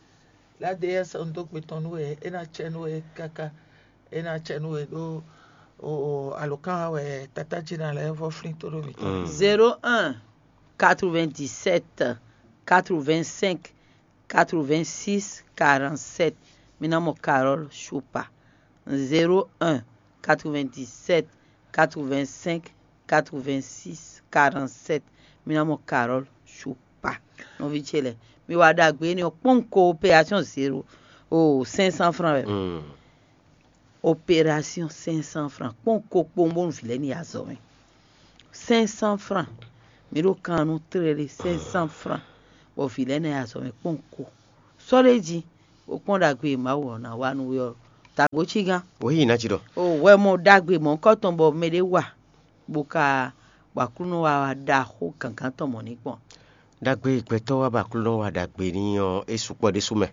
Ladeyɛ́si ɔ́, un dó gbe tɔn nú we, é ná cɛ nú we káká, é ná cɛ nú we ɖó alǒkan wɛ tatájí ná lɛ́ɛ vɔ́ flín tó ɖo mǐtɔn. Zéro un, quatre-vingt-dix-sept, quatre-vingt-cinq, quatre-vingt-six, quarante-sept. Mi ná mɔ Carole Choupa. Zéro un, quatre-vingt-dix-sept, quatre-vingt-cinq, quatre-vingt-six, quarante-sept. Mi ná mɔ Carole Choupa. pa nɔví ce lɛ́ɛ. Mi wa ɖagbe énɛ́ ɔ́ kpɔ́n ko opération zéro o cinq cents francs wɛ. Opération cinq cents francs kpɔ́n ko kpowun bónú vǐ lɛ́ɛ ní yi azɔ̌ mɛ. Cinq cents francs. Mi ɖo kan nú tlélé cinq cents francs bɔ vǐ lɛ́ɛ ná yi azɔ̌ mɛ kpɔ́n ko. Sɔ́ ɖ'é jí, bó kpɔ́n ɖagbe e Mawu ɔ́ ná wa nú we ɔ́, dǎgbó cí gán. Wǒ yi ná jí ɖɔ. O wɛ mɔ ɖagbe mɔ̌hunkɔtɔn bɔ mɛɖé wa, bó ka bɔ Aklúnɔ wa wá ɖaxó gǎngán tɔn mɔ̌ ní kpɔ́n. Ɖagbe e gbɛtɔ́ wa bɔ Aklúnɔ wa ɖagbe n'i ɔ́, é sukpɔ́ ɖésú mɛ.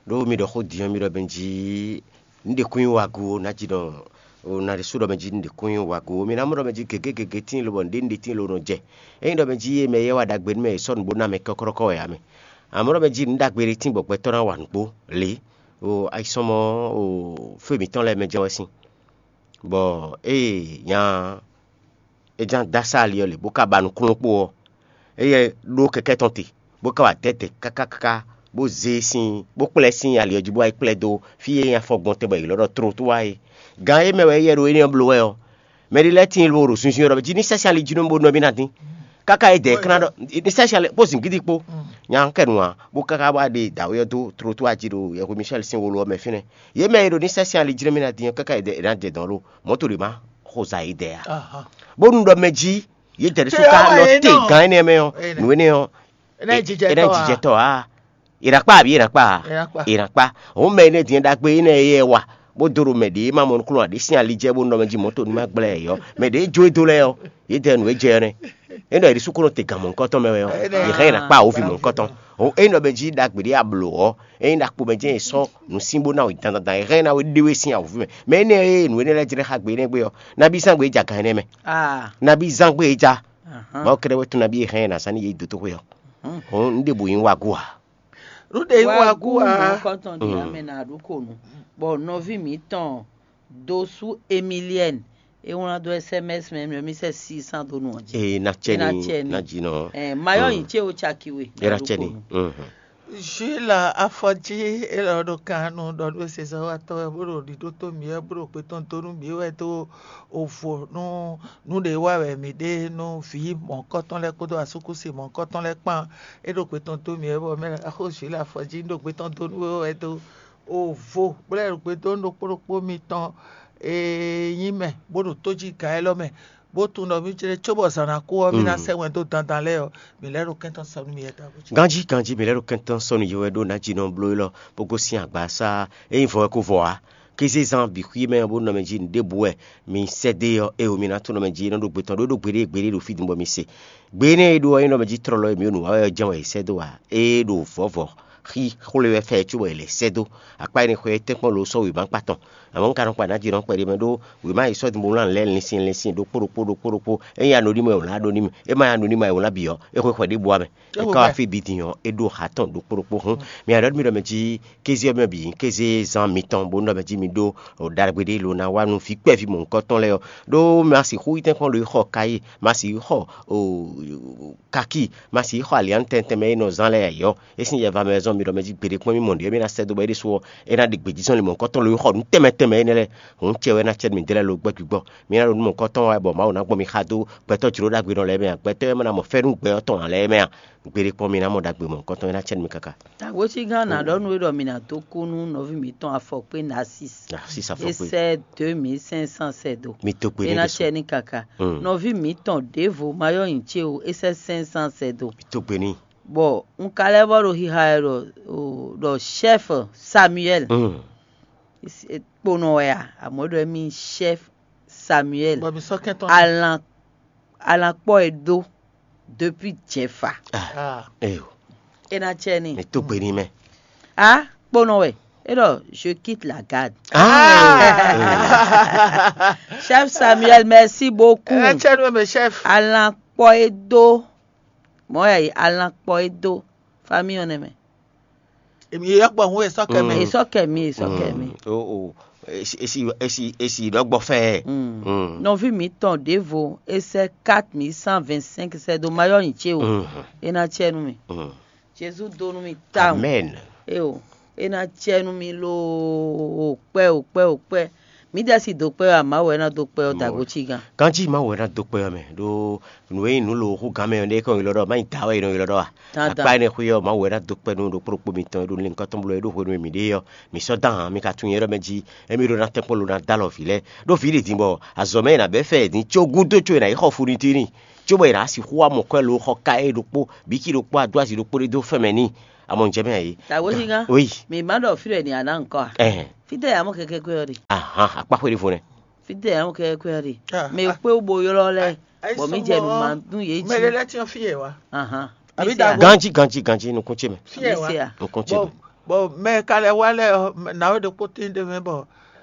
Ɖó mi ɖɔ xó din ɔ́, mi ɖɔ mɛ jí nǔ ɖě kún nyí wagu ó, ná jí ɖɔ o ná ɖésú ɖɔ mɛ jí nǔ ɖě kún nyí wagu ó. Mi ná mɔ ɖɔ mɛ jí gěgé gěgé tíin lobɔ nǔɖé nǔɖé tíin lo nɔ jɛ. Ényí ɖɔ mɛ jí é mɛ éyɛ́ wa ɖagbe nú mɛ è sɔ́ nǔ bó ná mɛ kɔ́kɔ́kɔ́ wɛ ǎ mɛ. Amɔ̌ ɖɔ mɛ jí nǔ ɖagbe ɖé tíin bɔ gbɛtɔ́ ná wa nǔgbó lě. O ayisɔ́mɔ o fé mǐtɔn lɛ́ɛ mɛ jɛ́n wɛ sín. Bɔ ée nya é ján dó asá ali ɔ́ lě, bó ka ba nǔkplɔ́n kpó ɔ́, éyɛ́ ɖó kɛkɛ́ tɔn te, bó ka wá dɛ̌dɛ̌ káká káká, bó zé sín, bó kplɛ́ sín ali ɔ́ jí, bó wá yi kplɛ́ dó fí e nyí afɔ gbɔn tɛn bɔ è ylɔ́ ɖɔ Tlotwá é. Gan e mɛ wɛ éyɛ́ ɖo énɛ́ ɔ́ bló wɛ ɔ́, mɛ ɖé lɛ́ɛ tíin lobo ɖo zunzun ɔ́ ɖɔ jí ní sɛ́ sín ali jí nú bó nɔ mì ná dín. Káká e dɛ̌ kán ɖɔ ní sɛ́ sín ali kpó zǐngídi kpó. Nya kɛ́ nu ǎ, bó káká wá ɖe dǎwe ɔ́ dó Tlotwá jí ɖo yɛhwe Michɛ́l sín wolo ɔ́ mɛ fínɛ́. Yě mɛ e ɖo ní sɛ́ sín ali jí nú mì ná dín ɔ́, káká e dɛ̌ è nǎ jɛ dɔ̌n lo mɔ̌ to ɖě má xo za yědɛɛ ǎ. Bónú ɖɔ mɛ jí yědɛɛ ɖésú ka nɔ te gǎn énɛ́ mɛ ɔ́, nǔ énɛ́ ɔ́, é ná nyí jijɛtɔ́ ǎ. È nǎ kpa abǐ è nǎ kpa ǎ? È nǎ kpa. È nǎ kpa. Hǔn mɛ énɛ́ din ɖagbe énɛ́ e yɛ wa, bó dó ɖo mɛ ɖě e ma mɔ nukúnnú ǎ ɖé sín ali jɛ bó nɔ mɛ jí mɔ̌ to ní má gblɛ́ ɛ ɔ́, mɛ ɖě e jó e dó lɛ́ɛ ɔ́, yě dɛ nǔ e jɛ ɔ́ nɛ́. É nɔ è ɖi súkúnɔ te gan mɔ̌hunkɔtɔn mɛ wɛ ɔ́, yě hɛn è nǎ kpa wǒvi mɔ̌hunkɔtɔn. Hǔn é nɔ mɛ jí ɖagbe ɖé a blǒ ɔ́, é nyí ɖakpo mɛ jɛ́n è sɔ́ nǔ sín bó ná wě dandan, è hɛn ná wě ɖé wé sín awǒvi mɛ. Mɛ énɛ́ e nǔ énɛ́ lɛ́ɛ jlɛ́ xá gbe énɛ́ gbe ɔ́, nabí zán gbe é ja gan énɛ́ mɛ. Nabí zán gbe é ja. Mawu kɛ́ɖɛ́ wɛ tún nabí e hɛn ɛ ná zán ní yě yi dǒtoxwe ɔ́. Hǔn un ɖěbǔ nyí wágú ǎ. Nǔ ɖě nyí wágú ǎ. Kɔntɔn ɖi ame na ɖu ko nu, bɔ nɔví mǐtɔn Dosu Emilienne é wlán dó S M S mɛ mɛ mi sɛ six cents dó nu ɔ́ jí. Ee, na cɛ ni, na jinɔ. Ɛ, mayɔ yin ce o caki we. Era cɛ ni. Jules Afɔji élɔ́ ɖo kan nu ɖɔ nú sezɔ́watɔ́ wɛ bó ɖo ɖiɖó tó mǐ wɛ bó ɖo gbe tɔn dó nú mǐ wɛ dó ovo nú nǔ ɖě wa wɛ mǐ ɖe nú vǐ mɔ̌hunkɔtɔn lɛ́ɛ kpódó asúkúsi mɔ̌hunkɔtɔn lɛ́ɛ kpán. É ɖo gbe tɔn dó mǐ wɛ bɔ mɛ axó Jules Afɔji ɖo gbe tɔn dó nú we wɛ dó ovo bó lɛ́ ɖo gbe dó nú ɖokpó ɖokpó mitɔn e nyí mɛ bó ɖo tójígǎn élɔ́ mɛ, bó tunwun ɖɔ mǐ jlé cóbɔ zǎn ná kú ɔ́, mǐ ná sɛ́ wɛn dó dandan lɛ́ɛ ɔ́, mǐ lɛ́ ɖo kɛntɔ́ sɔ́ nú mǐ wɛ dá. Ganjí ganjí mǐ lɛ́ ɖo kɛntɔ́ sɔ́ nú yě wɛ ɖó ná jí nɔ bló élɔ́ bó gosín agbasá é nyí vɔ wɛ kó vɔ ǎ. Kézé zán bǐ xwí mɛ ɔ́ bó nɔ mɛ jí nǔɖébǔ wɛ mi sɛ́ dó é ɔ́, éwo mi ná tunwun nɔ mɛ jí é nɔ ɖó gbe tɔn ɖó é ɖó gbeɖé gbeɖé ɖo fí din bɔ mi se. Gbe énɛ́ e ɖó ɔ́ é nɔ mɛ jí tlɔlɔ e mǐ ɖo nǔ wa wɛ ɔ́ jɛ́n wɛ è sɛ́ dó ǎ. É ɖo vɔ̌vɔ́ xí xwlé wɛ fɛ cóbɔ è lɛ̌ sɛ́ dó. Akpá énɛ́ xwé tɛ́nkpɔ́n lo sɔ́ wěma kpa tɔn. Amɔ̌ un ka nɔ kpa nǎ jí nɔ kpɛɖé mɛ ɖó wěma e sɔ́ din bó wlán lɛ́ɛ linsin linsin ɖokpó ɖokpó ɖokpó ɖokpó. É nyí anɔɖímɔ e wlán ɖó n'i mɛ, é ma nyí anɔɖímɔ e wlán bǐ ɔ́, é xwe xwɛ ɖěbǔ ǎ mɛ. É ka wá fí bǐ din ɔ́, é ɖó ha tɔn ɖokpó ɖokpó hún. Mǐ ɖɔ mì ɖɔ mɛ jí kéze ɔ́ mɛ bǐ nyí kéze zán mitɔn bó nɔ mɛ jí mi ɖó ɖagbe ɖé lo ná wá nú vǐ kpɛví mɔ̌hunkɔtɔn lɛ́ɛ ɔ́. Ɖó ma sixú yi tɛ́nkpɔ́n ɖo yi xɔ kayí, ma sixú xɔ kakí, ma sixú xɔ aliǎn tɛntɛn mɛ e nɔ zán lɛ́ɛ ǎ é sín yɛ va mɛ zɔn mi ɖɔ mɛ jí gbeɖé kpɔ́n mì mɔ nǔɖé mì ná sɛ́ dó bɔ é ɖésú ɔ́, é ná ɖe gbějízɔ́n li mɔ̌hunkɔtɔn lo yi xɔ nǔ tɛnmɛ tɛnmɛ énɛ́ lɛ́ɛ. Hǔn cɛ wɛ ná cɛ mi dó lɛ́ɛ lo gbɛ́ gbigbɔ. Mi ná ɖo nú mɔ̌hunkɔtɔn wɛ bɔ Mawu ná gbɔn mi xa dó gbɛtɔ́ jló ɖagbe nɔ lɛ́ɛ mɛ a? Gbɛtɔ́ e ma ná mɔ fɛ́nú gbɛ ɔ́ tɔn ǎ lɛ́ɛ mɛ a? Gbeɖé kpɔ́n mi ná mɔ ɖagbe mɔ̌hunkɔtɔn e ná cɛ nú mi káká. Tagwécígán ná ɖɔ nú we ɖɔ mi ná dó kú nú nɔví mǐtɔn afɔkpé Narcisse. Narcisse afɔkpé. É sɛ́ deux mille cinq cents sɛ́ dó. Mi dó gbe n'i. É ná cɛ n'i káká. Nɔví mǐtɔn ɖěvo ma yɔ́ nyi ce o, é sɛ́ cinq cents sɛ́ dó. Mi dó gbe n'i. Bɔ un ka lɛ́ vɔ ɖo xixa wɛ ɖɔ ɖɔ chef Samuel. Kponɔ wɛ a? Amɔ̌ ɖɔ émí chef Samuel. Bɔ mi sɔ́ kɛntɔn. Alan alan kpɔ e dó depuis jɛfa. Eyo. E na cɛ ni. Mi tó gbe ni mɛ. A kponɔ wɛ. E ɖɔ je quitte la garde. Chef Samuel, merci beaucoup. E na cɛ ni mɛ chef. Alan kpɔ e dó. Mɔ ya yi alan kpɔ e dó. Famille ɔ́ nɛ mɛ. Èmi yɛ gbɔ hun esɔ kɛ mɛ. Esɔ kɛ mi, esɔ kɛ mi. O o. Esi esi esi esi ɖɔ gbɔ fɛ. Nɔvi mi tɔn ɖevo esɛ quatre mille cent vingt cinq sɛ do mayɔ nyi ce o. E na cɛ nu mi. Jesu do nu mi ta o. Amen. E o. E na cɛ nu mi lo kpɛ o kpɛ o kpɛ. Mǐdɛɛ si dó kpɛ́ ɔ́, Mawu wɛ ná dó kpɛ́ ɔ́ da gǒ cí gán. Ganjí Mawu wɛ ná dó kpɛ́ ɔ́ mɛ, ɖó nǔ e nyí nǔ lo hú gán mɛ ɔ́, ɖé kɔn ylɔ́ ɖɔ má nyí dǎ wɛ è nɔ ylɔ́ ɖɔ a? Akpá énɛ́ xwé ɔ́, Mawu wɛ ná dó kpɛ́ nú ɖokpó ɖokpó mitɔn e ɖo linkɔ́ tɔn bló e ɖo hwenu e mǐ ɖe é ɔ́. Mǐ sɔ́ dó ahan, mi ka tunwun nyɛ ɖɔ mɛ jí émí ɖó ná tɛ́nkpɔ́n lo ná dó alɔ vǐ lɛ́ɛ. Ɖó vǐ ɖě din bɔ azɔ̌ mɛ è nǎ bɛ́ fɛ din có gúdo có è nǎ yi xɔ funitini, có bɔ è nǎ sixú wá mɔ kwɛ́ lo xɔ ka é ɖokpó, bǐ cí ɖokpó adó azi ɖokpó ɖé dó fɛn mɛ n'i. Amɔ un jɛ mɛ ǎ é. Tawézígán, Oui. Mǐ ma ɖɔ fí ɖɔ è nǐ ya ná ŋkɔ a? Ɛhɛn. Fítɛ́ yǎ mɔ kɛkɛ́ kwɛ́ ɔ́ ɖe? Ahan, akpá xwé ɖěvo nɛ́. Fítɛ́ yǎ mɔ kɛkɛ́ kwɛ́ ɔ́ ɖe? Ah, Mɛ ah, kpé bo ylɔ́ lɛ́ɛ, ah, bɔ mí jɛ nǔ ma nú yě jí. Mɛ ɖé lɛ́ɛ tiɔ́n fí yɛ wá. Ahan. Àbí Mí se dàgbà? A. Ganjí, ganjí, ganjí, nukún ce mɛ. Fí yɛ Mí wá. Se a. Nukún ce Bɔ mɛ. Bɔ mɛ ka lɛ wá lɛ ɔ, nǎwe ɖokpó tín ɖé mɛ bɔ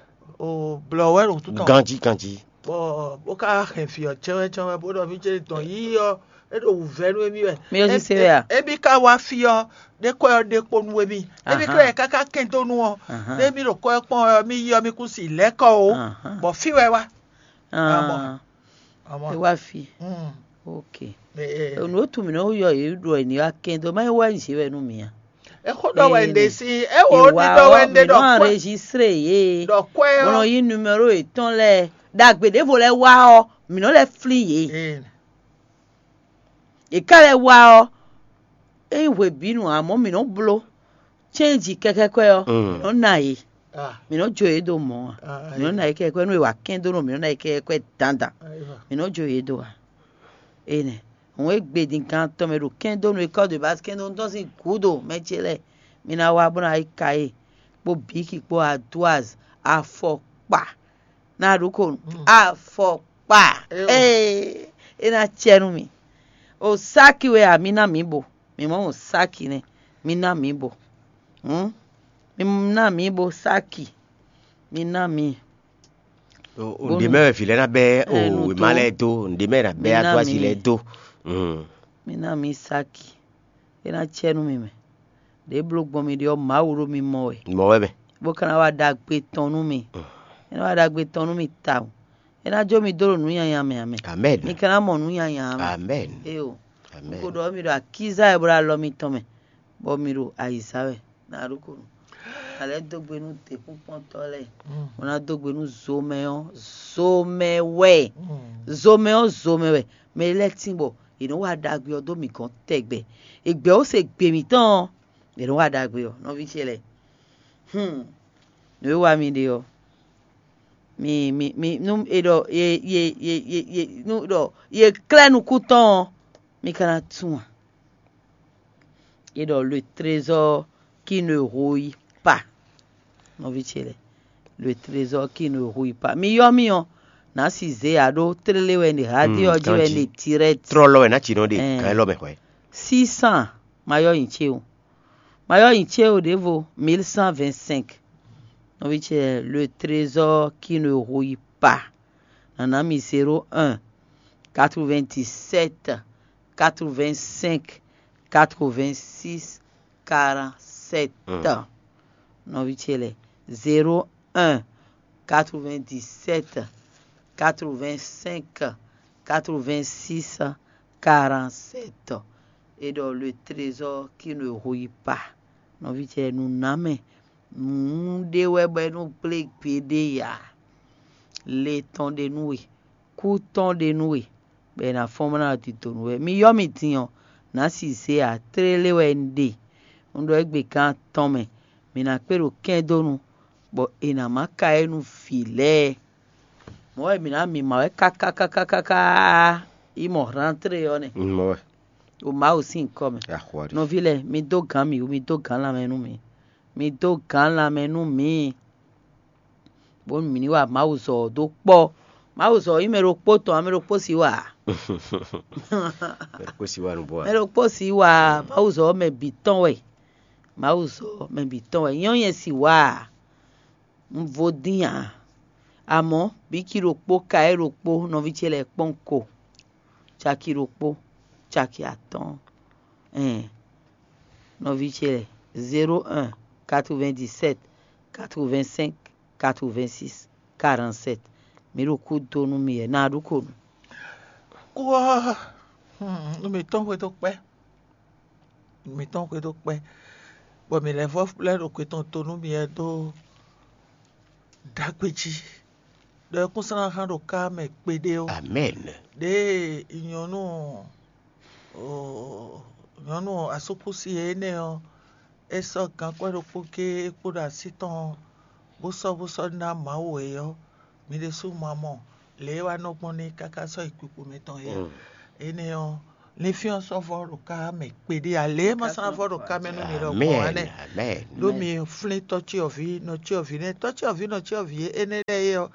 o blɔ wɛ ɖo tutɔ. Ganjí, ganjí. Bɔ bó ka hɛn fí ɔ cɛwɛ cɛwɛ bó ɖɔ mí ce dɔn yí ɔ é ɖo wǔvɛ́ nú émí wɛ. Mí ɔ sise wɛ a? Émí ka wá fí ɔ ɖé kɔ ɔ ɖe kpo nú émí. Émí Ahan. Klɛ́ káká kɛn dó nú ɔ. Ahan. Ɖé mí ɖo kɔ ɛ kpɔn ɔ mí yí ɔ mí kú si lɛ́ kɔ o. Ahan. Bɔ fí wɛ wá. Ah, Amɔ. É wá fi. Mm. Ok. Eh, eh. Nǔ e tunwun mǐ nɔ yɔ yě ɖɔ è ní wá kɛn dó má é wá nyí zě wɛ nú mǐ a? Exó ɖɔ wɛ un ɖe si, é wò ó ɖiɖɔ wɛ un ɖe ɖɔ kwɛ. Enregistré yě. Ɖɔ kwɛ ɔ́. Bó nɔ yí numéro yětɔn lɛ́ɛ. Ɖagbe ɖěvo lɛ́ɛ wá ɔ́, mǐ nɔ lɛ́ flín yě. Eh. È ká lɛ́ wá ɔ́, é nyí hwebǐnu ǎ, amɔ̌ mǐ nɔ́ bló cɛ́nji kɛ́kɛ́kɔ́ ɔ́, Mm. mǐ nɔ́ ná yě. Ah. Mǐ nɔ́ jó yě dó mɔ̌ ǎ. Ah, Mǐ nɔ́ ná yě kɛ́kɛ́kɔ́ nú è wǎ kɛ́n dó nú mǐ nɔ́ ná yě kɛ́kɛ́kɔ́ dandan. Ayiwa. Mǐ nɔ́ jó yě dó ǎ. Énɛ́. Òun e gbe din gan tɔn mɛ ɖo kɛ́n dó nú é kɔ́ de bá kɛ́n dó nú tɔ́n sín gǔdo mɛ ce lɛ́ɛ. Mi ná wá bó ná yi ka yé kpó bǐki kpó adwaz afɔkpa. Ná ɖu ko nú afɔkpa. Ee, é ná cɛ nú mì. O sáki wɛ a, mi ná mǐ bo. Mi mɔ o sáki nɛ́, mi ná mǐ bo. Hǔn, mi ná mǐ bo sáki. Mi ná mǐ. Ǹdě mɛ wɛ vǐ lɛ́ɛ ná bɛ́ o wěma lɛ́ɛ dó, ǹdě mɛ ná bɛ́ adwázi lɛ́ɛ dó. Mi ná mǐ sáki. É ná cɛ nú mi mɛ. Ɖě bló gbɔn mi ɖe ɔ́, Mawu ɖo mi mɔ wɛ. Mɔ wɛ mɛ. Bó ka ná wá ɖagbe tɔn nú mi. É ná wá ɖagbe tɔn nú mi tawun. É ná jó mi dó ɖo nǔ nyanya mɛ ǎ mɛ. Amɛn. Mi ka ná mɔ nǔ nyanya ǎ mɛ. Amɛn. Éyo. Amɛn. Un ko ɖɔ mi ɖo akíza wɛ bó ɖo alɔ mitɔn mɛ, bɔ mi ɖo ayǐza wɛ. Ná ɖó ko nú. Alɛ dó gbe nú děkúnkpɔ́ntɔ́ lɛ́ɛ. Bó ná dó gbe nú zomɛ ɔ́, zomɛ wɛ. Zomɛ ɔ́, zomɛ wɛ. Mɛ lɛ́ɛ tín bɔ è nɔ wa ɖagbe ɔ́ dó mǐ gɔ́n tɛgbɛ. È gbɛ̌ ó se gbe mǐtɔn ɔ́, è nɔ wa ɖagbe ɔ́, nɔví ce lɛ́ɛ. Hmm. Nǔ e wa mi ɖe ɔ́, mi mi mi nú è ɖɔ ye ye ye ye ye nú ɖɔ ye klɛ́ nukún tɔn ɔ́, mi ka ná tunwun a? È ɖɔ le trésor qui ne rouille pas. Nɔví ce lɛ́ɛ, le trésor qui ne rouille pas. Mi yɔ́ mì ɔ́, nǎ si zě ǎ ɖó tlélé wɛ ɖe, hádé ɔ́ jí wɛ ɖe direct. Trɔlɔ wɛ ná ci nɔ ɖe Ɛɛ. Kan élɔ́ mɛ hwɛ. Six cents ma yɔ́ nyi ce o. Ma yɔ́ nyi ce o ɖěvo, mille cent vingt-cinq. Nɔví ce, le trésor qui ne rouille pas. Nana mi zéro un, quatre-vingt-dix-sept, quatre-vingt-cinq, quatre-vingt-six, quarante-sept. Nɔví ce lɛ́ɛ, zéro un, quatre-vingt-dix-sept, quatre-vingt-cinq, quatre-vingt-six, quarante-sept. Et dans le trésor qui ne rouille pas. Nɔví ce, nǔ ná mɛ. Nǔ ɖé wɛ bɔ é nɔ gblé gbeɖé ǎ. Le tɔn ɖe nú we, kú tɔn ɖe nú we, bɔ è nǎ fɔ́n bó ná ɖi do nú we. Mi yɔ́ mi din ɔ́, nǎ si zé ǎ, tlélé wɛ un ɖe. Un ɖɔ égbé gán atɔn mɛ, mǐ ná kpé ɖo kɛ́ndónu, bɔ è nǎ má ka é nú vǐ lɛ́ɛ. Mɔ̌ wɛ mǐ ná mǐmá wɛ káká káká káká yi mɔ hlántlé ɔ́ nɛ́. Mɔ̌ wɛ. Ɖo Mawu sín nyǐkɔ mɛ. Axwa ɖi. Nɔví lɛ́ɛ, mi dó gǎn mì wú, mi dó gǎn lanmɛ nú mì. Mi dó gǎn lanmɛ nú mǐ. Bónú mǐ ní wa Mawu zɔ ɔ́ dó kpɔ́. Mawu zɔ ɔ́ nyí mɛ ɖokpó tɔn, ǎ mɛ ɖokpó sixú wa ǎ. Mɛ ɖokpó sixú wa nǔ bɔ ǎ. Mɛ ɖokpó sixú wa ǎ. Mawu zɔ ɔ́ mɛ bǐ tɔn wɛ. Mawu zɔ ɔ́ mɛ bǐ tɔn wɛ. Nyɔ́ nyɛ sixú wa ǎ. Un vo dín ǎ. Amɔ̌, bǐ cí ɖokpó ka é ɖokpó nɔví ce lɛ́ɛ kpɔ́n ko. Caki ɖokpó, caki atɔ́ɔ́n. Ɛn, nɔví ce lɛ́ɛ, zéro un, quatre-vingt-dix-sept, quatre-vingt-cinq, quatre-vingt-six, quarante-sept. Mǐ ɖo kú dó nú mi wɛ, ná ɖu ko nú. Kú ɔ́, hmm, nú mǐtɔn xwedó kpɛ́. Nú mǐtɔn xwedó kpɛ́. Bɔ mǐ lɛ́ vɔ́ lɛ́ ɖo xwe tɔn to nú mi wɛ dó ɖagbe jí. ɖɔ é kún sɔ́ ná hán ɖo ká mɛ kpeɖé ó. Amen. Ɖěe nyɔ̌nu nyɔ̌nu asúkúsi énɛ́ ɔ́, é sɔ́ gankwɛ́ ɖokpó géé kpódó así tɔn bó sɔ́ bó sɔ́ ná Mawu é ɔ́, mi ɖésú ma mɔ lě e wá nɔ gbɔn n'i káká sɔ́ yi kpikpo mɛtɔn é ǎ. Énɛ́ ɔ́, linfín ɔ́ sɔ́ vɔ́ ɖo ká mɛ kpeɖé ǎ, lě e ma sɔ́ ná vɔ́ ɖo ká mɛ nú mi ɖɔhun ǎ nɛ́. Ɖó mi flín tɔ́cyɔvǐ nɔcyɔvǐ nɛ́, tɔ́cyɔvǐ nɔcyɔvǐ énɛ́ lɛ́ɛ é ɔ́,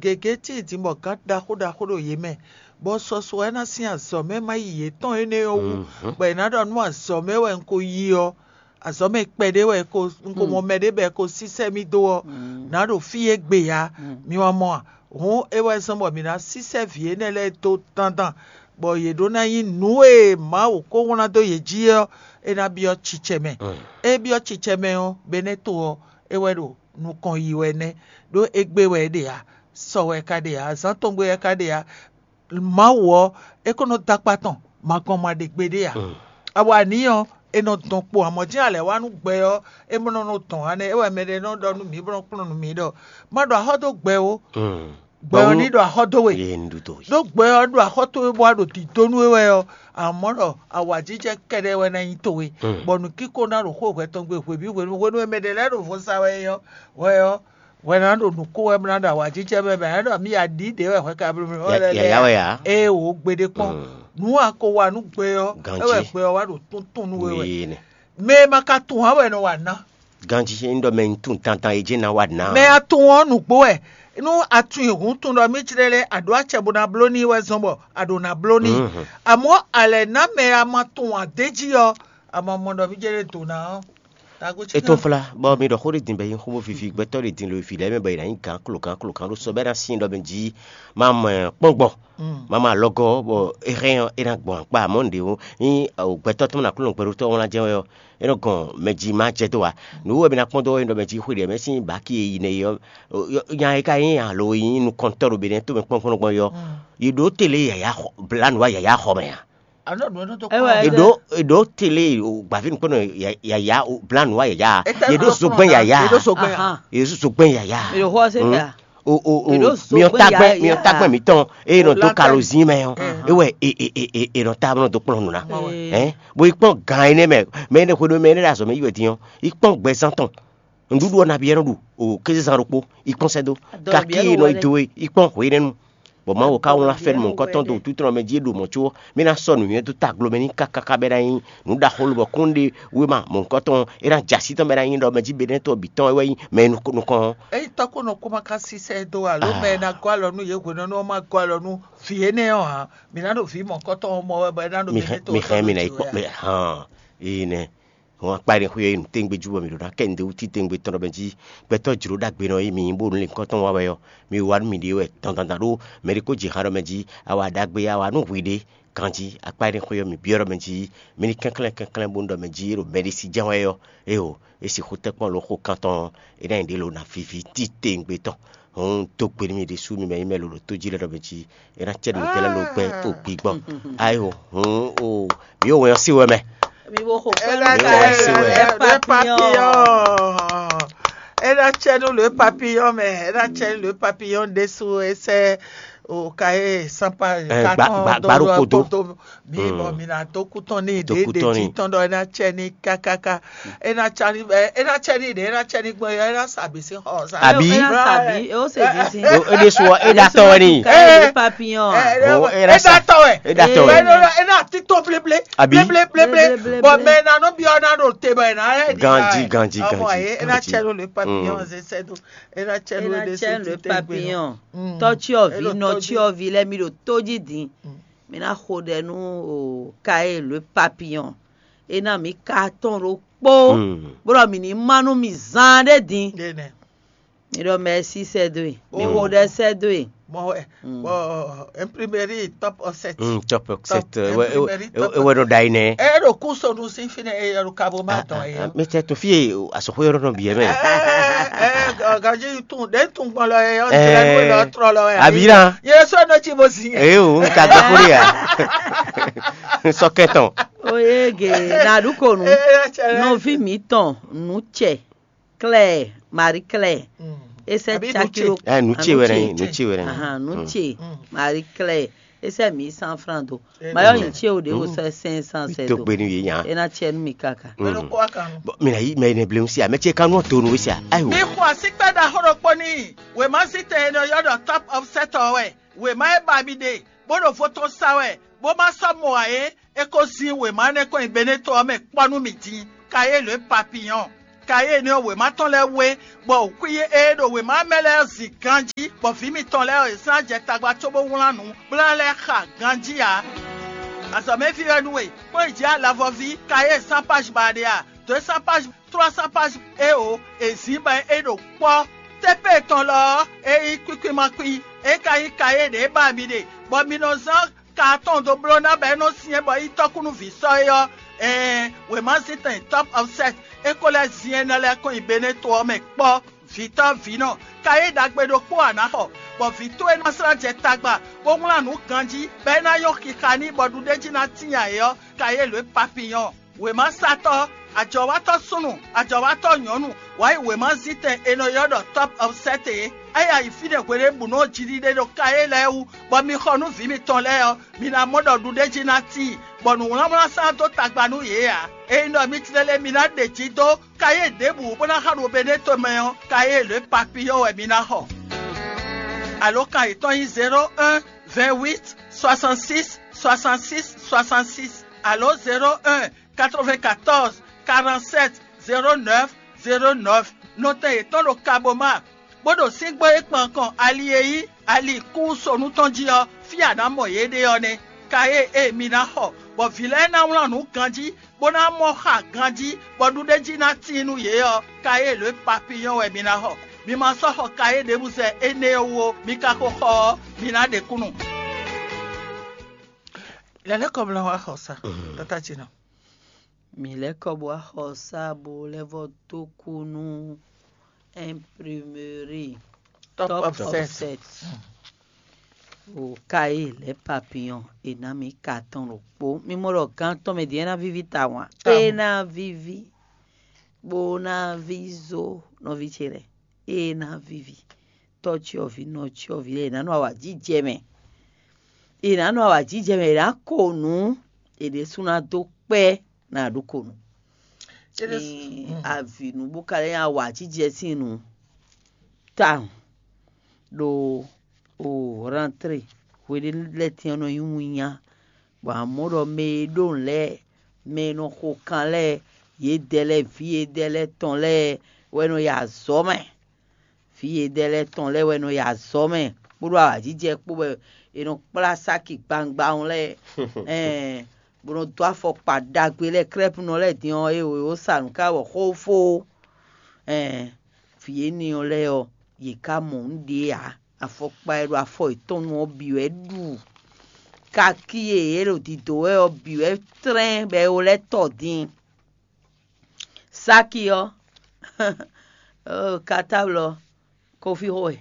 gěgé tíin din bɔ gǎn ɖaxó ɖaxó ɖo yě mɛ, bɔ sɔsɔ ɔ́ ná sín azɔ̌ mɛ ma yi yětɔn énɛ́ ɔ́ wú, bɔ è nǎ ɖɔ nú azɔ̌ mɛ wɛ un ko yi ɔ́, azɔ̌ mɛ kpɛɖé wɛ un ko mɔ mɛ ɖé bɔ è ko sísɛ́ mì dó ɔ́, nǎ ɖo fí e gbe ǎ. Mi wá mɔ a? Hǔn é wɛ zɔ́n bɔ mǐ ná sísɛ́ vǐ énɛ́ lɛ́ɛ dó dandan, bɔ yě ɖó ná nyí nǔ e Mawu ko wlán dó yě jí ɔ́, é ná byɔ́ cicɛ mɛ. É byɔ́ cicɛ mɛ ɔ́, Beneto ɔ́, é wɛ ɖo nukɔn yi wɛ nɛ́, ɖó égbé wɛ é ɖe ǎ, sɔ wɛ é ka ɖe ǎ, azǎn tɔn gbe wɛ é ka ɖe ǎ. Mawu ɔ́, é ko nɔ dó akpá tɔn, ma gɔn ma ɖe gbeɖé ǎ. Awa ní ɔ́, è nɔ dɔn kpo amɔ̌ jɛ́n alɛ̌ wá nú gbɛ ɔ́, é nɔ nɔ dɔn ǎ nɛ́. É wɛ mɛɖé nɔ ɖɔ nú mǐ bó nɔ kplɔ́n nú mǐ ɖɔ: "Má ɖo axɔ́ dó gbɛ ó, gbɛ ɔ́ ní ɖo axɔ́ dó we." Ɖó gbɛ ɔ́ ɖo axɔ́ towe bó wá ɖo dǐdó nú we wɛ ɔ́, amɔ̌ ɖɔ awǎjijɛ kɛ́ɖɛ́ wɛ ná nyí towe, bɔ nǔkíko ná ɖo xó hwɛ tɔn gbe hwebǐ hwenu hwenu e mɛ ɖě lɛ́ɛ ɖo vo sa wɛ é ɔ́, hwɛ ɔ́, hwɛ ná ɖo nǔ ko wɛ bó ná ɖo awǎjijɛ mɛ bɔ é ɖɔ mì aɖǐ ɖě wɛ hwɛ ka bló mì wɛ lɛ́ Yǎyá wɛ ǎ. Ée wǒ gbeɖé kpɔ́n. Nǔ a ko wa nú gbɛ ɔ́, é wɛ gbɛ ɔ́ wá ɖo tuntun nú we wɛ. Mɛ e ma ka tunwun ǎ wɛ è nɔ wa ná. Ganjí é nyí ɖɔ mɛ un tunwun dandan é jɛ́n ná wa ná. Mɛ a tunwun ɔ́ nǔgbó wɛ. Nú a tunwun hǔn tunwun ɖɔ mì jlɛ́ lɛ́ɛ a ɖǒ acɛ bó ná bló n'i wɛ zɔn bɔ a ɖǒ ná bló n'i. Amɔ̌ a lɛ̌ ná mɛ a ma tunwun ǎ d'é jí ɔ́, a ma mɔ ɖɔ mì jlɛ́ lɛ́ɛ dǒ ná ɔ́. Tago cí É tɔ́n flá bɔ mi ɖɔ xó ɖé din bɔ é nyí xó bó víví gbɛtɔ́ ɖé din lo e vǐ lɛ́ɛ mɛ bɔ è nǎ nyí gǎn klo gǎn klo gǎn ɖó sɔ bɔ é ná sin ɖɔ mɛ jí má mɔ kpɔ́ngbɔ má mɔ alɔgɔ́ bɔ é hɛn ɔ́ é ná gbɔn akpá amɔ̌ nǔɖé ó nyí gbɛtɔ́ tɔn ná klo gbɛɖótɔ́ wlán jɛ́n wɛ ɔ́ é nɔ gɔn mɛ jí má jɛ dó wa. Nǔ wɛ mi ná kpɔ́n dó wɛ ɖɔ mɛ jí xwé ɖě mɛ sín bǎki e yi nɛ yi ɔ́ nya e ka nyí alo e nyí nukɔntɔ́ ɖo Benɛ́ tomɛ kpɔ́n gbɔn gbɔn yi ɔ́, yi ɖǒ tele yǎyá xɔ blǎ nǔ wa yǎyá xɔ mɛ a? Anɔ ɖo nɔ dó Ɛwɛ, kpɔn. Eɖo eɖo tele o gbavi nukpɔnɔ yaya o blanu wa yaya. Etɛ Yeɖo nɔ zogbɛn kplɔn yaya. Yeɖo zogbɛn. Ahan. Yeɖo zogbɛn yaya. Eɖo xɔ se ta. O o o Eɖo miɔ zogbɛn tagbɛ yaya. Miɔ tagbɛ mitɔn eye nɔ do Oblakɛ. Kalo zin mɛ ɔ. Ewɛ e e e e e nɔ ta nɔ do kplɔn nu na. Ee. Ɛ bo ikpɔn gan yi nɛ mɛ mɛ ne xwe do mɛ ne ɖe azɔ mɛ yi wɛ din ɔ ikpɔn gbɛzan tɔn. Nǔɖuɖu ɔ́ nabí ɛ nɔ ɖu o kézezán ɖokpó ikpɔ́n sɛ́ dó. Kakí e nɔ yi do e ikpɔ́n hwenɛ́nu. Bɔ Mawu ka wlán fɛ́nú mɔ̌hunkɔtɔn dó wútútɔ́ mɛ jí e ɖo mɔ̌ có mì ná sɔ́ nǔnywɛ́ dó taglo mɛ n'i káká bɔ é ná nyí nǔ ɖaxó lobɔ kún ɖe wéma mɔ̌hunkɔtɔn ɔ́ é ná jɛ así tɔn bɔ é ná nyí ɖɔ mɛ jí Benɛ́tɔn bǐ tɔn wɛ nyí mɛ e nukɔn ɔ́. Ényí tɔ́ ko nɔ kó ma ka sísɛ́ dó alo mɛ e ná gɔ́ alɔ nú yě hwenɛ́nu ɔ́ ma gɔ́ alɔ nú vǐ énɛ́ ɔ́ ǎ, mǐ ná ɖo vǐ mɔ̌hunkɔtɔn ɔ́ mɔ wɛ bɔ é ná ɖo mi hɛn Benɛ́tɔn mi hɛn mi ná yi kpɔ́n mɛ hàn ee nɛ. Hɔn akpa ɖe xwé e nǔ téŋgbé jú bɔ mǐ ɖo ná kɛ nǔɖé wú títewungbe tɔn ɖɔ mɛ jí gbɛtɔ́ jlǒ ɖagbe nɔ e mǐ nyí bó nú lǐnkɔ́n tɔn wa wɛ ɔ́, mi wa nú miɖée wɛ dandan ɖó mɛ ɖé ko jɛ han ɖɔ mɛ jí awa ɖagbe awa nú hwiɖée ganjí akpa ɖe xwé ɔ́ mǐ byɔ́ ɖɔ mɛ jí mi ní kɛnklɛ́n kɛnklɛ́n bónú ɖɔ mɛ jí e ɖo mɛɖé sí jɛ́n wɛ ɔ́, éeǒ, é sixú tɛ́ kpɔ́n lǒ xo kan tɔn ɔ́, é ná nyí ɖě lǒ ná víví títewungbe tɔn. Hɔn un dó gbe nú mi ɖésú mi mɛ nyí mɛ lolo tó jí lɛ́ɛ ɖɔ mɛ jí é ná cɛ nǔ tɛ́ lɛ́ɛ ló gbɛ́ tó gbigbɔn. Ayo hɔn o mi yóò wɛn ɔ́ sí wɛ mɛ. Mi bo xo kpɛ́ Ena nú cɛ ta ɛ le papillon. Papillon. Ena cɛ nu le papillon mɛ. Ena cɛ nu le papillon ɖésú esɛ o ka ye sanpa Ɛ, gba- gba- gba ɖo kodo. Mi bɔ mi na dó kútɔn ní Dó ɖe kútɔn ɖe ní. Títɔn ɖɔ ena cɛ ní kákáká. Ena cɛ ní ɛ ena cɛ ní ɖe ena cɛ ní gbɔn ena sàbí sí xɔ sa. Àbí? Ena sàbí, ó sì di sí. Eɖe sɔ eɖa tɔ wɛ ni. Ka ye le papillon. Ɛ, ɛ, Oh, ɛ, ena ena sa- tɔ wɛ. Ena tɔ wɛ. Ena ena titɔ bleble. Àbí? Bleble bleble. Bleble, bleble. Bɔn mɛ na nɔ bi ɔna ɖo te bɔ ena ɛ di Ganji, ganji, Ɔmɔ ganji, ye ena ganji. Cɛ lo le papillon Mm. ze sɛ do. Ena cɛ lo Ena le cɛ su le ti tɛ gbe. Papillon. Mm. Tɔtsiɔvi Elo tɔji. Nɔtsiɔvi lɛ mi ɖo tóji dín. Mm. Mi ná xo ɖɛ nú o ka ye le papillon. Ena mi ka tɔn ɖo kpó. Mm. Bó ɖɔ mi ní má nú mi zán ɖé dín. Ɖe nɛ. Mi ɖɔ mɛsi sɛ dó e. Mi Oh. Xo ɖɛ sɛ dó e. Mɔ wɛ. Mm. Bɔ imprimerie top offset. Mm, top offset. Top Ewɛ ewɛ imprimerie top ewɛ nɔ da yi nɛ. Ɛ ɖo kú sonu sí fi nɛ eye ɖo kabo ma dɔn ye. Mi tɛ to fie asɔxo yɔrɔ nɔ biɛ mɛ. Ɛ ɛ gaji tun ɖe tun gbɔn lɔ ye ɔn Ɛ. Tɛ lɔ trɔ lɔ ye. Abi na. Ye sɔ nɔ tsi bo si. Ee o, n ka gbɛ kúrò ya. N sɔ kɛtɔn. Oyege naɖukonu. Nɔvi mǐtɔn nǔ cɛ Claire, Marie Claire. Mm. E sɛ Àbí caki nú ɖo ɛ nú ce wɛ nɛ nyi nú ce wɛ nɛ nyi. Ahan, nú ce. Marie Claire, e sɛ mi san franc do. Mayɔ nyi ce o ɖe wo sɛ cinq cent sɛ To do. gbe nú yě nya. E na cɛ nú mi kaka. Mɛ ɖokpó wa kan nu. Bɔn mi na yi mɛ ne bleun si a mɛ ce kan nɔ to nu si a ayi Mi o. xɔ asíkpɛ́ ɖaxó ɖokpó n'i. Wěma zítɛn e nɔ ylɔ́ ɖɔ Top of Set ɔ́ wɛ. Wěma e ba mi ɖe, bó ɖo vo tɔn sa wɛ, bó ma sɔ́ mɔ ǎ é, é ko zín wěma énɛ́ kɔn nyi Beneto ɔ́ mɛ kpɔ́ nú mì din. Kayélu e papiyɔn. Kayélu ɔ́ wěma tɔn lɛ́ɛ wé, bɔ wǔkwín e ɖo wěma mɛ lɛ́ɛ ɔ́ zin ganjí, bɔ vǐ mitɔn lɛ́ɛ ɔ́, è zán jɛ tagba cóbó wlán nǔ, bó ná lɛ́ xa ganjí ǎ. Azɔ̌mɛví wɛ nú we, kplɔ́n yi jǐ alavɔví, kayé cent page ba ɖe a? Dǒ cent page, trois cent page e o, è zǐn bɔ é ɖo kpɔ́. Tépé tɔn lɔ ɔ́, é nyí kwíkwímakpí, é ka nyí kayé ɖě ba mi ɖe, bɔ mi nɔ zán ka atɔn dó bló ná bɔ é nɔ syɛ́n bɔ é nyí tɔ́kúnúví sɔ́ é ɔ́, ɛɛn, wěma zítɛn Top of Set é ko lɛ́ zin énɛ́ lɛ́ɛ kɔn nyi Beneto ɔ́ mɛ kpɔ́. Vǐtɔ́ vǐnɔ, kayé ɖagbe ɖokpó a nǎ xɔ, bɔ vǐ towe ná slá jɛ tagba, bó wlán nǔ ganjí, bɔ é ná nyɔ́ xixa n'i bɔ ɖuɖéjí ná tíin ayǐ ɔ́, kayé lǒ e papiyɔn. Wěmasatɔ́, ajɔ̌watɔ́ súnnu, ajɔ̌watɔ́ nyɔ̌nu, wǎ yi wěmazítɛn è nɔ ylɔ́ ɖɔ Top of Set é. É ya yi fínɛ́ hweɖěbǔnu ɔ́ jiɖiɖe ɖo kayé lɛ́ɛ wú, bɔ mi xɔ nú vǐ mitɔn lɛ́ɛ ɔ́, mi ná mɔ ɖɔ ɖuɖéjí ná tíin, bɔ nǔwlánwlán sán dó tagba nú yě ǎ. Ényí ɖɔ mi tlélé mi ná ɖe jí dó kayé ɖěbǔ bó ná xa ɖo Beneto mɛ ɔ́, kayé lě papiyɔ́ wɛ mi ná xɔ. Alokan yětɔn nyí zéro un, vingt huit, soixante six, soixante six, soixante six, alo zéro un, quatre vingt quatorze, quarante sept, zéro neuf, zéro neuf. Nɔtɛn yětɔn ɖo Kaboma, bó ɖo síngbó e kpan kɔn ali e nyí ali kúnsonu tɔn jí ɔ́, fí a nǎ mɔ yě ɖe ɔ́ nɛ́. Kayé e mi ná xɔ, bɔ vǐ lɛ́ɛ ná wlán nǔ ganjí, bó ná mɔ xa ganjí, bɔ ɖuɖéjí ná tíin nú yě ɔ́, kayé lě papiyɔ́ wɛ mi ná xɔ. Mi ma sɔ́ xɔ kayé ɖěbǔ zɛ énɛ́ ɔ́ wú ó, mi ka ko xɔ ɔ́, mi ná ɖe kúnnu. Lɛ̌lɛ́kɔmlá wa xɔ sa, tata ce nɔ. Mi lɛ́ kɔ bó wá xɔ sá bó lɛ́ vɔ dó kú nú imprimerie Top Top of of Set. Set. O kayé lɛ́ papiyɔn è nǎ mi ka tɔn ɖokpó. Mi mɔ ɖɔ gán tɔn mɛ din é ná víví tawun a? Tawun. É ná víví bó ná ví zó nɔví ce lɛ́ɛ. É ná víví tɔ́cyɔvǐ nɔcyɔvǐ lɛ́ɛ è nǎ nɔ awǎjijɛ mɛ. È nǎ nɔ awǎjijɛ mɛ è nǎ ko nǔ è ɖésú ná dó kpɛ́ ná ɖó ko nǔ. Ní avǐ nú bó ka lɛ́ nyi awǎjijɛ sín nǔ tawun ɖo o rentrée hweɖé lɛ́ɛ tɛ́n ɔ́ nɔ nyí winnyá, bɔ amɔ̌ ɖɔ mɛ e ɖó nǔ lɛ́ɛ, mɛ e nɔ xo kan lɛ́ɛ, yědɛɛ lɛ́ɛ, vǐ yědɛɛ lɛ́ɛ tɔn lɛ́ɛ wɛ nɔ yi azɔ̌ mɛ. Vǐ yědɛɛ lɛ́ɛ tɔn lɛ́ɛ wɛ nɔ yi azɔ̌ mɛ kpódó awǎjijɛ kpó wɛ è nɔ kplá sáki gbangba ɔ́ lɛ́ɛ, ɛn bó nɔ dó afɔkpa ɖagbe lɛ́ɛ krɛ́pnɔ lɛ́ɛ din ɔ́, é wǒ sa nǔ ká wɔ xófó. Ɛn vǐ énɛ́ ɔ́ lɛ́ɛ ɔ́, yě ká mɔ nǔ ɖě ǎ. Afɔkpa e ɖo afɔ yětɔn nu ɔ́ bǐ wɛ ɖu. Kaki e yě ɖo dǐdó wɛ ɔ́ bǐ wɛ tlɛ́n bɔ é wó lɛ́ tɔ din. Sáki ɔ́, oh, katáblɔ, kofi xo wɛ,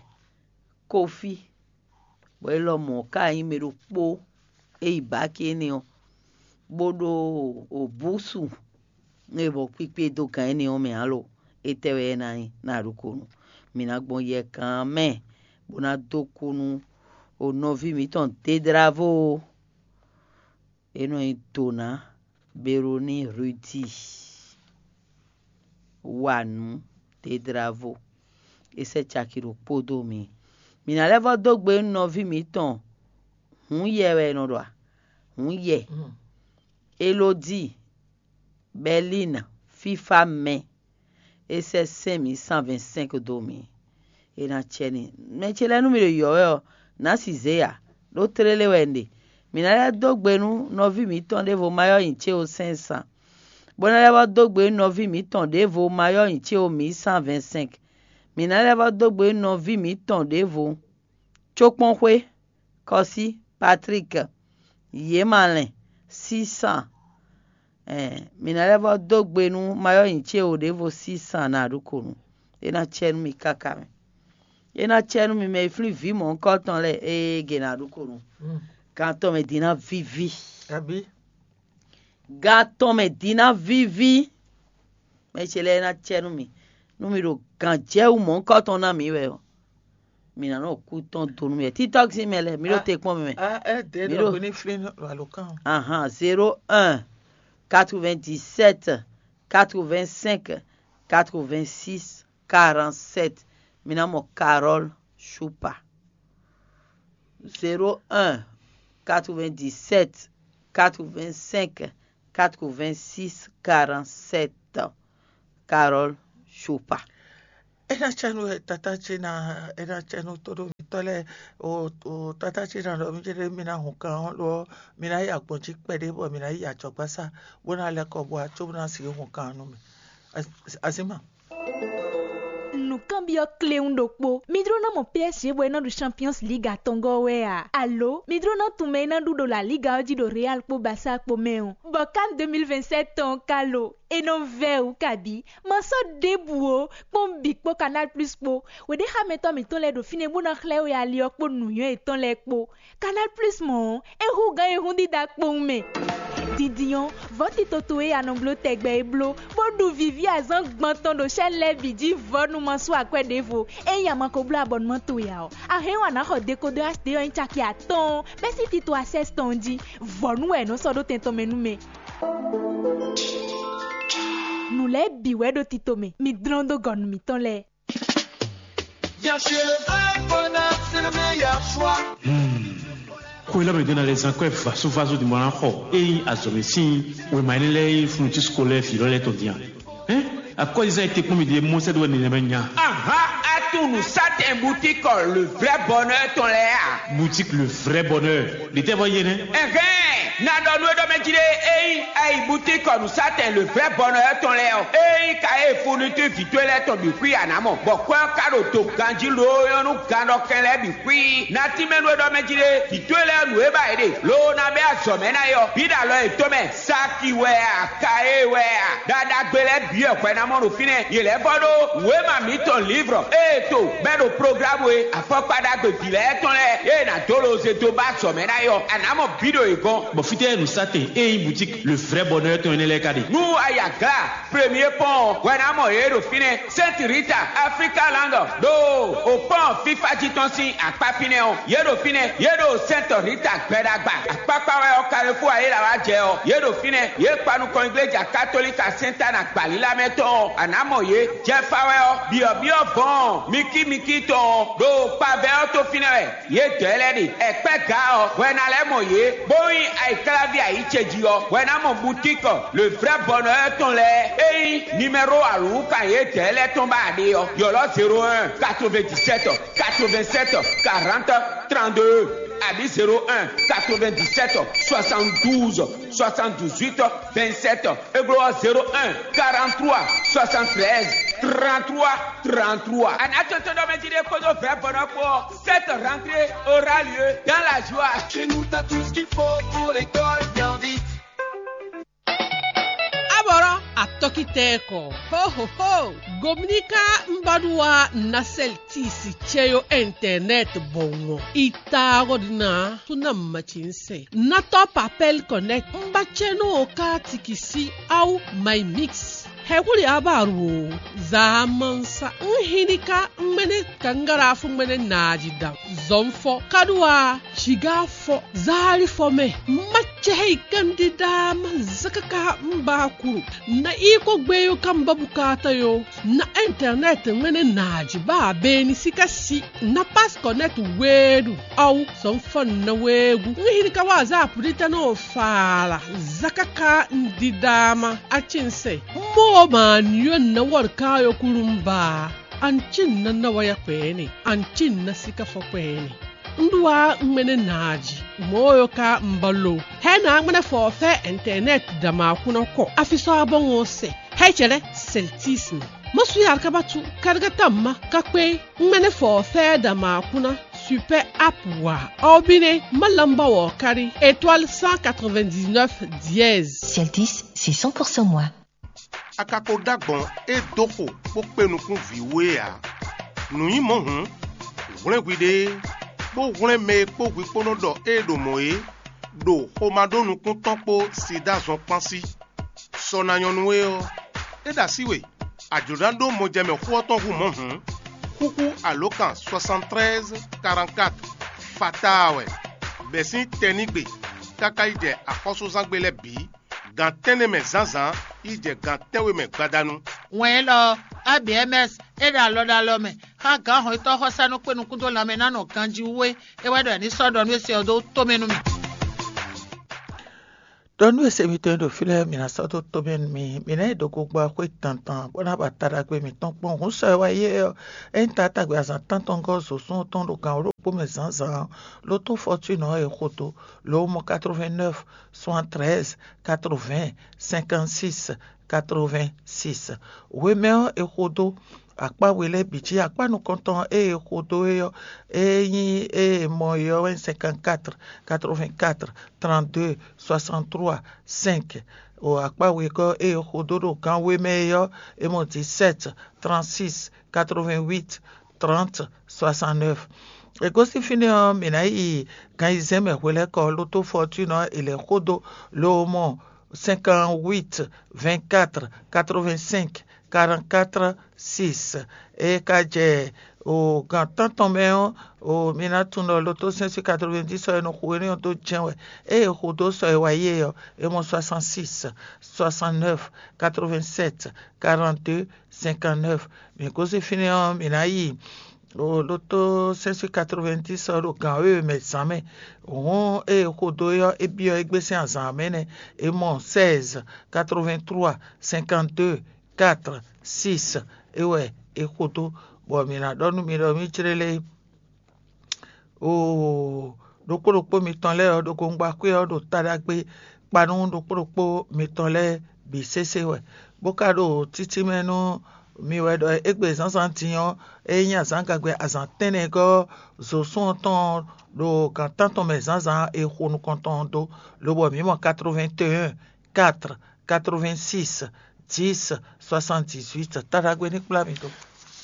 kofi. Bɔ é lɔ mɔ̌ ká nyí mɛ ɖokpó e yi bǎki énɛ́ ɔ́, bó ɖó òbúsu e bɔ kpíkpé dó gǎn énɛ́ ɔ́ mɛ ǎ lo. Étɛ́ wɛ é ná nyí ná ɖokónú? Mǐ ná gbɔn yɛkan mɛ bó ná dó kú nú o nɔví mǐtɔn Dédravó. É nɔ nyí Dona Beroni Rudi. Wa nǔ Dédravó. É sɛ́ caki ɖokpó dó mǐ. Mǐ ná lɛ́ vɔ́ dó gbe nú nɔví mǐtɔn Hǔn yɛ wɛ è nɔ ɖɔ a? Hǔn yɛ. Elodíi, Bɛlína, fífá mɛ, é sɛ́ sɛ́n mǐ cent vingt-cinq dó mǐ. É ná cɛ n'i. Mɛ ce lɛ́ɛ nú mì ɖo yɔ̌ wɛ ɔ́, nǎ si zě ǎ, ɖó tlélé wɛ un ɖe. Mǐ ná lɛ́ dó gbe nú nɔví mǐtɔn ɖěvo Mayɔ́ nyi céwo cinq cents, bó ná lɛ́ vɔ́ dó gbe nú nɔví mǐtɔn ɖěvo Mayɔ́ nyi céwo mǐ cent vingt-cinq. Mǐ ná lɛ́ vɔ́ dó gbe nú nɔví mǐtɔn ɖěvo Cókpɔ́nxwé, Kɔsí, Patrík, Yěmalɛn, Sísan. Ɛɛ, mǐ ná lɛ́ vɔ́ dó gbe nú Mayɔ́ nyi céwo ɖěvo Sísan ná ɖu ko nú. É ná cɛ nú mi káká mɛ. É ná cɛ nú mi mɛ e flín vǐ mɔ̌hunkɔtɔn lɛ́ɛ, ée ge ná ɖu ko nú. Gan tɔn mɛ din ná víví. Àbí? Gan tɔn mɛ din ná víví. Mɛ ce lɛ́ɛ é ná cɛ nú mi. Nú mi ɖo gǎn jɛ wú mɔ̌hunkɔtɔn ná mǐ wɛ ɔ́, mǐ ná nɔ kú tɔn do nú mì wɛ. Títɔ́ sín mɛ lɛ́ɛ, mi ɖo te kpɔ́n mì mɛ. A ɛ dɛ Mi ɖo- ɖɔ hwenu flin alo kan. Ahan, zéro un, quatre-vingt-dix-sept, quatre-vingt-cinq, quatre-vingt-six, quarante-sept. Mi ná mɔ Carole Choupa. Zéro un, quatre-vingt-dix-sept, quatre-vingt-cinq, quatre-vingt-six, quarante-sept. Carole Choupa. É ná cɛ nú tatá ce ná, é ná cɛ nú tóɖó mitɔ́ lɛ́ɛ. O o tatá ce ná ɖɔ mí céɖé mí ná hun kan ɔ́ lo ɔ́, mí ná yi agbɔ̌n jí kpɛɖé bɔ mí ná yi ajɔ̌gbásá bó ná lɛ́ kɔ bɔ wá cóbó ná sixú hun kan ɔ́ nú mì. Azǐma. Nǔkanbyɔ́ kléwún ɖokpó. Mi jló ná mɔ P S G bɔ é ná ɖu Champions League atɔngɔ́ wɛ a? Alo mi jló ná tunwun mɛ e ná ɖu ɖo La Liga ɔ́ jí ɖo Real kpó Barça kpó mɛ ɔ́? Bɔ CAN deux mille vingt-sept tɔn ɔ́ ka lo? É nɔ vɛ́ wǔ kabǐ. Ma sɔ́ ɖěbǔ ó, kpɔ́n bǐ kpó Canal Plus kpó. Wěɖéxámɛtɔ́ mǐtɔn lɛ́ɛ ɖo fínɛ́ bó ná xlɛ́ we ali ɔ́ kpó nǔnywɛ́ yětɔn lɛ́ɛ kpó. Canal Plus mɔ̌ ɔ́, é hú gǎn e hún dídá kpowun mɛ. Dindin ɔ́, vɔ̌ tito towe e a nɔ bló tɛgbɛ é bló, bó ɖu vǐví azǎn gbɔn tɔn ɖo chaîne lɛ́ɛ bǐ jí vɔ̌ nú ma sú akwɛ́ ɖěvo. Ényí a ma ko bló abɔnumán towe ǎ ɔ́, a hɛn wǎn ná xɔ dekodɔ H D ɔ́ nyí caki atɔ́ɔ́n bɛ́ sín tito Access tɔn jí. Vɔ̌ nú wɛ è nɔ sɔ́ ɖó tɛn tɔn mɛ nú mɛ. Nǔ lɛ́ɛ bǐ wɛ ɖo tito mɛ, mi dlɔ́n dó gɔ̌ nú mǐtɔn lɛ́ɛ. Bien sûr, le vrai bonheur, c'est le meilleur choix. Xwe lɔ mɛ ɖé ná lɛ́ zán kwɛ́ vasovaso din bɔ ná xɔ ényí azɔ̌mɛ sín wěma énɛ́ lɛ́ɛ e nyí fúnnutín scolaire vǐ lɔ lɛ́ɛ tɔn din a? Hɛn, akɔ́zizán e te kpɔ́n mì ɖe mɔ́ sɛ́ ɖó wɛ nɛnɛmɛ nya. Ahan, atunu satɛn butikɔ le vrai bonheur tɔn lɛ́ɛ a? Boutique le vrai bonheur. Ɖětɛ́ vɔ yé nɛ́? Ɛhɛn, na ɖɔ nú é ɖɔ mɛ jí ɖé, ényí ayi butikɔ nǔsatɛn le vrai bonheur tɔn lɛ́ɛ ɔ́, ényí ka e fourniture vǐ towe lɛ́ɛ tɔn bǐ xwí a nǎ mɔ, bɔ kwɛ́ ɔ́ ka ɖo do ganjí loo nyɔ́ nú gannɔkɛn lɛ́ɛ bǐ xwí. Na tínmɛ nú é ɖɔ mɛ jí ɖé, vǐ towe lɛ́ɛ nǔ e ba yě ɖe, loo ná bɛ́ azɔ̌ mɛ ná é ɔ́, bǐ ɖo alɔ yětɔn mɛ. Saki wɛ a, Kaye wɛ a, ɖaɖagbe lɛ́ɛ bǐ wɛ hwɛ ná mɔ ɖo fínɛ́. Yě lɛ́ vɔ ɖó wěma mǐtɔn lǐvrɔ ée to bɛ́ ɖo programu e afɔkpa ɖagbe vǐ lɛ́ɛ tɔn lɛ́ɛ e è nǎ dó loze dó ba azɔ̌ mɛ ná é ɔ́, a nǎ mɔ bǐ ɖo yě gɔ́n. Bɔ fítɛ́ nǔsatɛn e nyí boutique le vrai bonheur tɔn énɛ́ lɛ́ɛ ka ɖe? Nú a yi Agla Premier Pɔ́n ɔ́, hwɛ ná mɔ yě ɖo fínɛ́. Sainte Rita, Africa Land, ɖo o pɔ́n fífá jí tɔn sín akpá fínɛ́ ɔ́, yě ɖo fínɛ́, yě ɖo Sainte Rita gbɛɖagba. Akpákpá wɛ ɔ́, Carrefour ayéla wá jɛ ɔ́, yě ɖo fínɛ́, yě kpa nukɔn igleja katolika Sainte Anne agbalílá mɛ tɔn ɔ́, a nǎ mɔ yě. Jɛfa wɛ ɔ́, byɔ̌byɔ́ vɔ̌ɔn mikímikí tɔn ɔ́, ɖo kpavɛ ɔ́ tó fínɛ́ wɛ. Yědɛɛ lɛ́ɛ ɖe ɛkpɛ́ ga ɔ́, hwɛ ná lɛ́ mɔ yě, bó nyí ayǐkláví ayǐ ce jí ɔ́, hwɛ ná mɔ butíkɔ le vrɛ́ bɔnɔ ɔ́ tɔn lɛ́ɛ. É nyí nimɛ́ro alǔwúkan yědɛɛ lɛ́ɛ tɔn ba ɖe ɔ́, ylɔ́ zéro un, quatre-vingt-dix-sept, quatre-vingt-sept, quarante, trente-deux, abǐ zéro un, quatre-vingt-dix-sept, soixante-douze, soixante-dix-huit, vingt-sept. É glɔ́ ɔ́, zéro un, quarante-trois, soixante-treize, trente-trois, trente-trois. A nǎ tɔn tɔn ɖɔ mɛ jí ɖé kpódó vɛ̌ bɔnɔ kpó ɔ́, cette rentrée aura lieu dans la joie. Chez nous, t'as tout ce qu'il faut pour l'école bien vite. Abɔrɔ atɔkitɛkɔ. Ho ho ho. Gomnika mbaɖuwa nasɛl tisi cɛyo internet bɔwɔn. Itagodina tuna machinse. Natɔ papel connect. Mbacɛno ka tikisi au my mix. Hekuli abaru. Zamansa. Nhinika mene kangara fu mene naji da. Zɔnfɔ. Kadua. Shiga fɔ. Zali fɔ mɛ. Macɛhei kandida ma zakaka mbakuru. Na iko gbeyo kamba bukata yo. Na internet ŋmɛnɛ naaji ba beni sika si. Na pas connect weedu. Awu sɔn fɔ na weegu. Ŋhiri ka wa za pudita no fala. Zakaka ndidama. Achinse. Mo ma nyo na wor ka yo kulumba. Anchin na na waya kwene. Anchin na sika fɔ kwene. Nɖu wa ŋmɛnɛ naaji mɔɔ yɔ ka mbalo. Hɛ na ŋmɛnɛ fɔ fɛ internet dama kunɔ kɔ. Afisɔ abɔŋɔ sɛ. Hɛ cɛlɛ celtisme. Mɔsu yar kabatu karigata ma kakpe ŋmɛnɛ fɔ fɛ dama kuna super app wa. Ɔbinɛ malamba wɔ kari étoile cent quatre-vingt-dix-neuf dièse. Celtis, c'est cent pour cent moi. A ka ko ɖó agbɔ̌n e dó xo bó kpe nukún vǐ we ǎ. Nǔ nyí mɔ̌ hǔn, hwlɛ́n hwiɖée, bó hwlɛ́n mɛ e kpó hwi kpó nɔ ɖɔ ée ɖo mɔ̌ é ɖo xomá ɖó nukún tɔn kpó sida zɔn kpán sí. Sɔ ná nyɔ́ nú we ɔ́, é ɖo así we. A jlǒ ná ɖó mɔjɛmɛ xó ɔ́ tɔn hú mɔ̌ hǔn, xúxú alǒkan soixante-treize quarante-quatre fataa wɛ, bɛ̌ sín tɛnígbe káká yi jɛ axɔ́súzángbe lɛ́ɛ bǐ, gan tɛ́nnɛ mɛ zǎnzǎn yi jɛ gan tɛ́nwe mɛ gbadanu. Wɛn élɔ́ ɔ́, A B M S é ɖo alɔ ɖo alɔ mɛ xá gǎn hɔnnyitɔ́ xɔsánú kpé nukún dó lanmɛ ná nɔ ganjí wú é. É wɛ ɖɔ è ní sɔ́ ɖɔ nú é se ɔ́ dó tomɛ nú mì. Ɖɔ nú e se mitɔn e ɖo fí lɛ́ɛ, mǐ ná sɔ́ dó tomɛ nú mi; mǐ ná yi ɖo gogba xwé dandan, bó ná ba ta ɖagbe mǐtɔn kpɔ́n. Hǔn sɔ e wá yi é ɔ́, ényí taatagbe azǎn tántɔn gɔ́ zǒsún ɔ́ tɔn ɖo gan wǒ ɖokpó mɛ zǎnzǎn ɔ́, ló tó fɔtúnɔ ɔ́ è xo dó, lo mɔ quatre-vingt-neuf soixante-treize quatre-vingts cinquante-six quatre-vingt-six. Hwemɛ ɔ́, è xo dó akpá we lɛ́ɛ bǐ jí. Akpá nukɔntɔn e è xo dó é ɔ́, é nyí e è mɔ é ɔ́ wɛ nyí cinquante-quatre quatre-vingt-quatre trente-deux soixante-trois cinq. O akpá wegɔ́ e è xo dó ɖo gan we mɛ é ɔ́, è mɔ dix-sept trente-six quatre-vingt-huit trente soixante-neuf. È gosín fínɛ́ ɔ́, mǐ ná yi gan ayizɛ́n mɛ hwelɛ́kɔ. Lotó Fɔtúnɔ è lɛ̌ xo dó, lo mɔ cinquante-huit vingt-quatre quatre-vingt-cinq quarante-quatre six. É ka jɛ o gan tántɔn mɛ ɔ́, o mi ná tunwun ɖɔ lotó sɛ́n sín quatre-vingt-dix sɔ e nɔ xo énɛ́ ɔ́ dó jɛ́n wɛ. Ée è xo dó sɔ e wá yi é ɔ́, é mɔ soixante-six soixante-neuf quatre-vingt-sept quarante-deux cinquante-neuf. Mǐ gosín fínɛ́ ɔ́, mǐ ná yi o lotó sɛ́n sín quatre-vingt-dix ɔ́ ɖo gan wěwe mɛ zǎn mɛ. Hǔn ée è xo dó é ɔ́, é byɔ́ égbé sín azǎn mɛ nɛ́. É mɔ seize quatre-vingt-trois cinquante-deux quatre six. É wɛ é xo dó, bɔ mǐ ná ɖɔ nú mi ɖɔ mǐ jlé lé. Oo, ɖokpó ɖokpó mitɔn lɛ́ɛ ɔ́, ɖo gongba xwé ɔ́ ɖo ta ɖagbe kpa nú ɖokpó ɖokpó mitɔn lɛ́ɛ bǐ sésé wɛ, bó ka ɖo títí mɛ nú mi wɛ ɖɔ égbé zǎnzǎn din ɔ́, é nyí azǎngagbe azǎn tɛ́nnɛgɔ́ zǒsún ɔ́ tɔn ɖo gan tántɔn mɛ zǎnzǎn e xo nukɔntɔn ɔ́ dó, lobɔ mǐ mɔ quatre-vingt-un quatre quatre-vingt-six dix soixante-dix-huit. Taɖagbe ní kplá mi dó.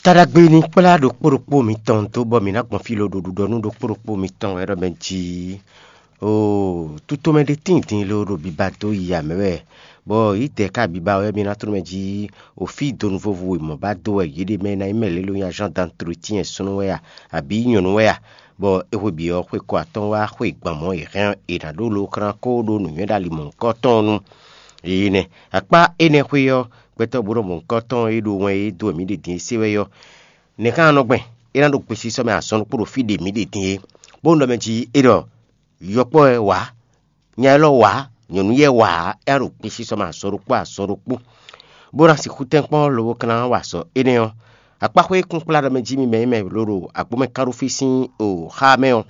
Taɖagbe ní kplá ɖokpó ɖokpó mitɔn dó, bɔ mǐ ná gbɔn fí lo ɖo ɖuɖɔ nú ɖokpó ɖokpó mitɔn wɛ ɖɔ mɛ jí. Oo, tutomɛ ɖé tíin din lo ɖo biba dó yi amɛ wɛ, bɔ yǐdɛɛ ka biba wɛ mi ná tló mɛ jí. O fí donu vovo e mɔ̌ ba dó wɛ yě ɖe mɛ ná nyí mɛ lě lo nyí agent d'entretien súnnu wɛ a, abǐ nyɔ̌nu wɛ a? Bɔ é hwe bǐ ɔ́, xwe kɔ atɔ́ɔ́n wá xwe gban mɔ̌ è hɛn è nǎ ɖó lo xlán kó ɖó nǔnywɛ́ ɖo ali mɔ̌hunkɔ tɔn ɔ́ nu. Énɛ́ akpá énɛ́ xwé ɔ́, gbɛtɔ́ bó nɔ mɔ̌hunkɔ tɔn e ɖo wɛn e dó wɛ mǐ ɖe din é se wɛ ɔ́, nɛ̌ ká nɔ gbɛn? É ná ɖo gbesisɔ mɛ azɔn ɖokpó ɖo fí ɖe mǐ ɖe din é, bó nɔ mɛ jí é ɖɔ yɔkpɔ́ wɛ wǎ, nya élɔ́ wǎ, nyɔ̌nu yɛ wǎ, é ná ɖo gbesisɔ mɛ azɔn ɖokpó azɔn ɖokpó, bó ná sixú tɛ́nkpɔ́n lobo ka ná wa azɔ̌ énɛ́ ɔ́. Akpáxwé kúnkplá ɖɔ mɛ jí mi mɛ e mɛ lo ɖo agbǒmɛ kánɖófí sín o xá mɛ ɔ́,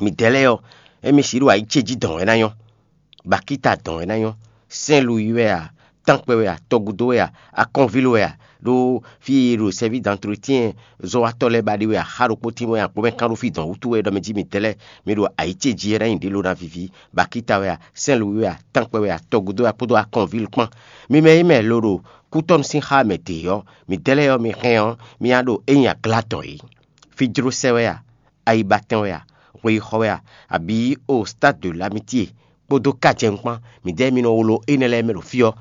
midɛɛ lɛ́ɛ ɔ́, émi sixú ɖo ayǐ ce jí dɔn wɛ ná nyɔ́. Bakíta dɔn wɛ ná nyɔ́. Sɛ́n Luwi wɛ a, tánkpɛ wɛ a, tɔgúdó wɛ a, akɔ́nvíló wɛ a, ɖó fí e è ɖo sɛ́ví d'antretiyɛn zɔ́watɔ́ lɛ́ɛ ba ɖe wɛ a, xá ɖokpó tín wɛ a, gbɔmɛ kán ɖó fí dɔn wútu wɛ ɖɔ mɛ jí midɛɛ lɛ́ɛ, mi ɖo ayǐ ce jí wɛ ná nyi ɖě lo ná víví. Bakíta wɛ a, Sɛ́n Luwi wɛ a, tánkpɛ wɛ a, tɔgúdó wɛ a, kpódó akɔ́nvíló kpán. Mi mɛ e mɛ lo ɖo kútɔ́nu sín xá mɛ ɖě ɔ́, midɛɛ lɛ́ɛ ɔ́, mi hɛn ɔ́, mi ná ɖo é nyi aglá dɔn é. Fí jló sɛ wɛ a? Ayibatɛn wɛ a? Hweyixɔ wɛ a? Abǐ o Stade de l'Amitié kpódó kajɛnu kpán, midɛɛ mi nɔ wlo énɛ́ lɛ́ɛ mɛ ɖo fí ɔ́.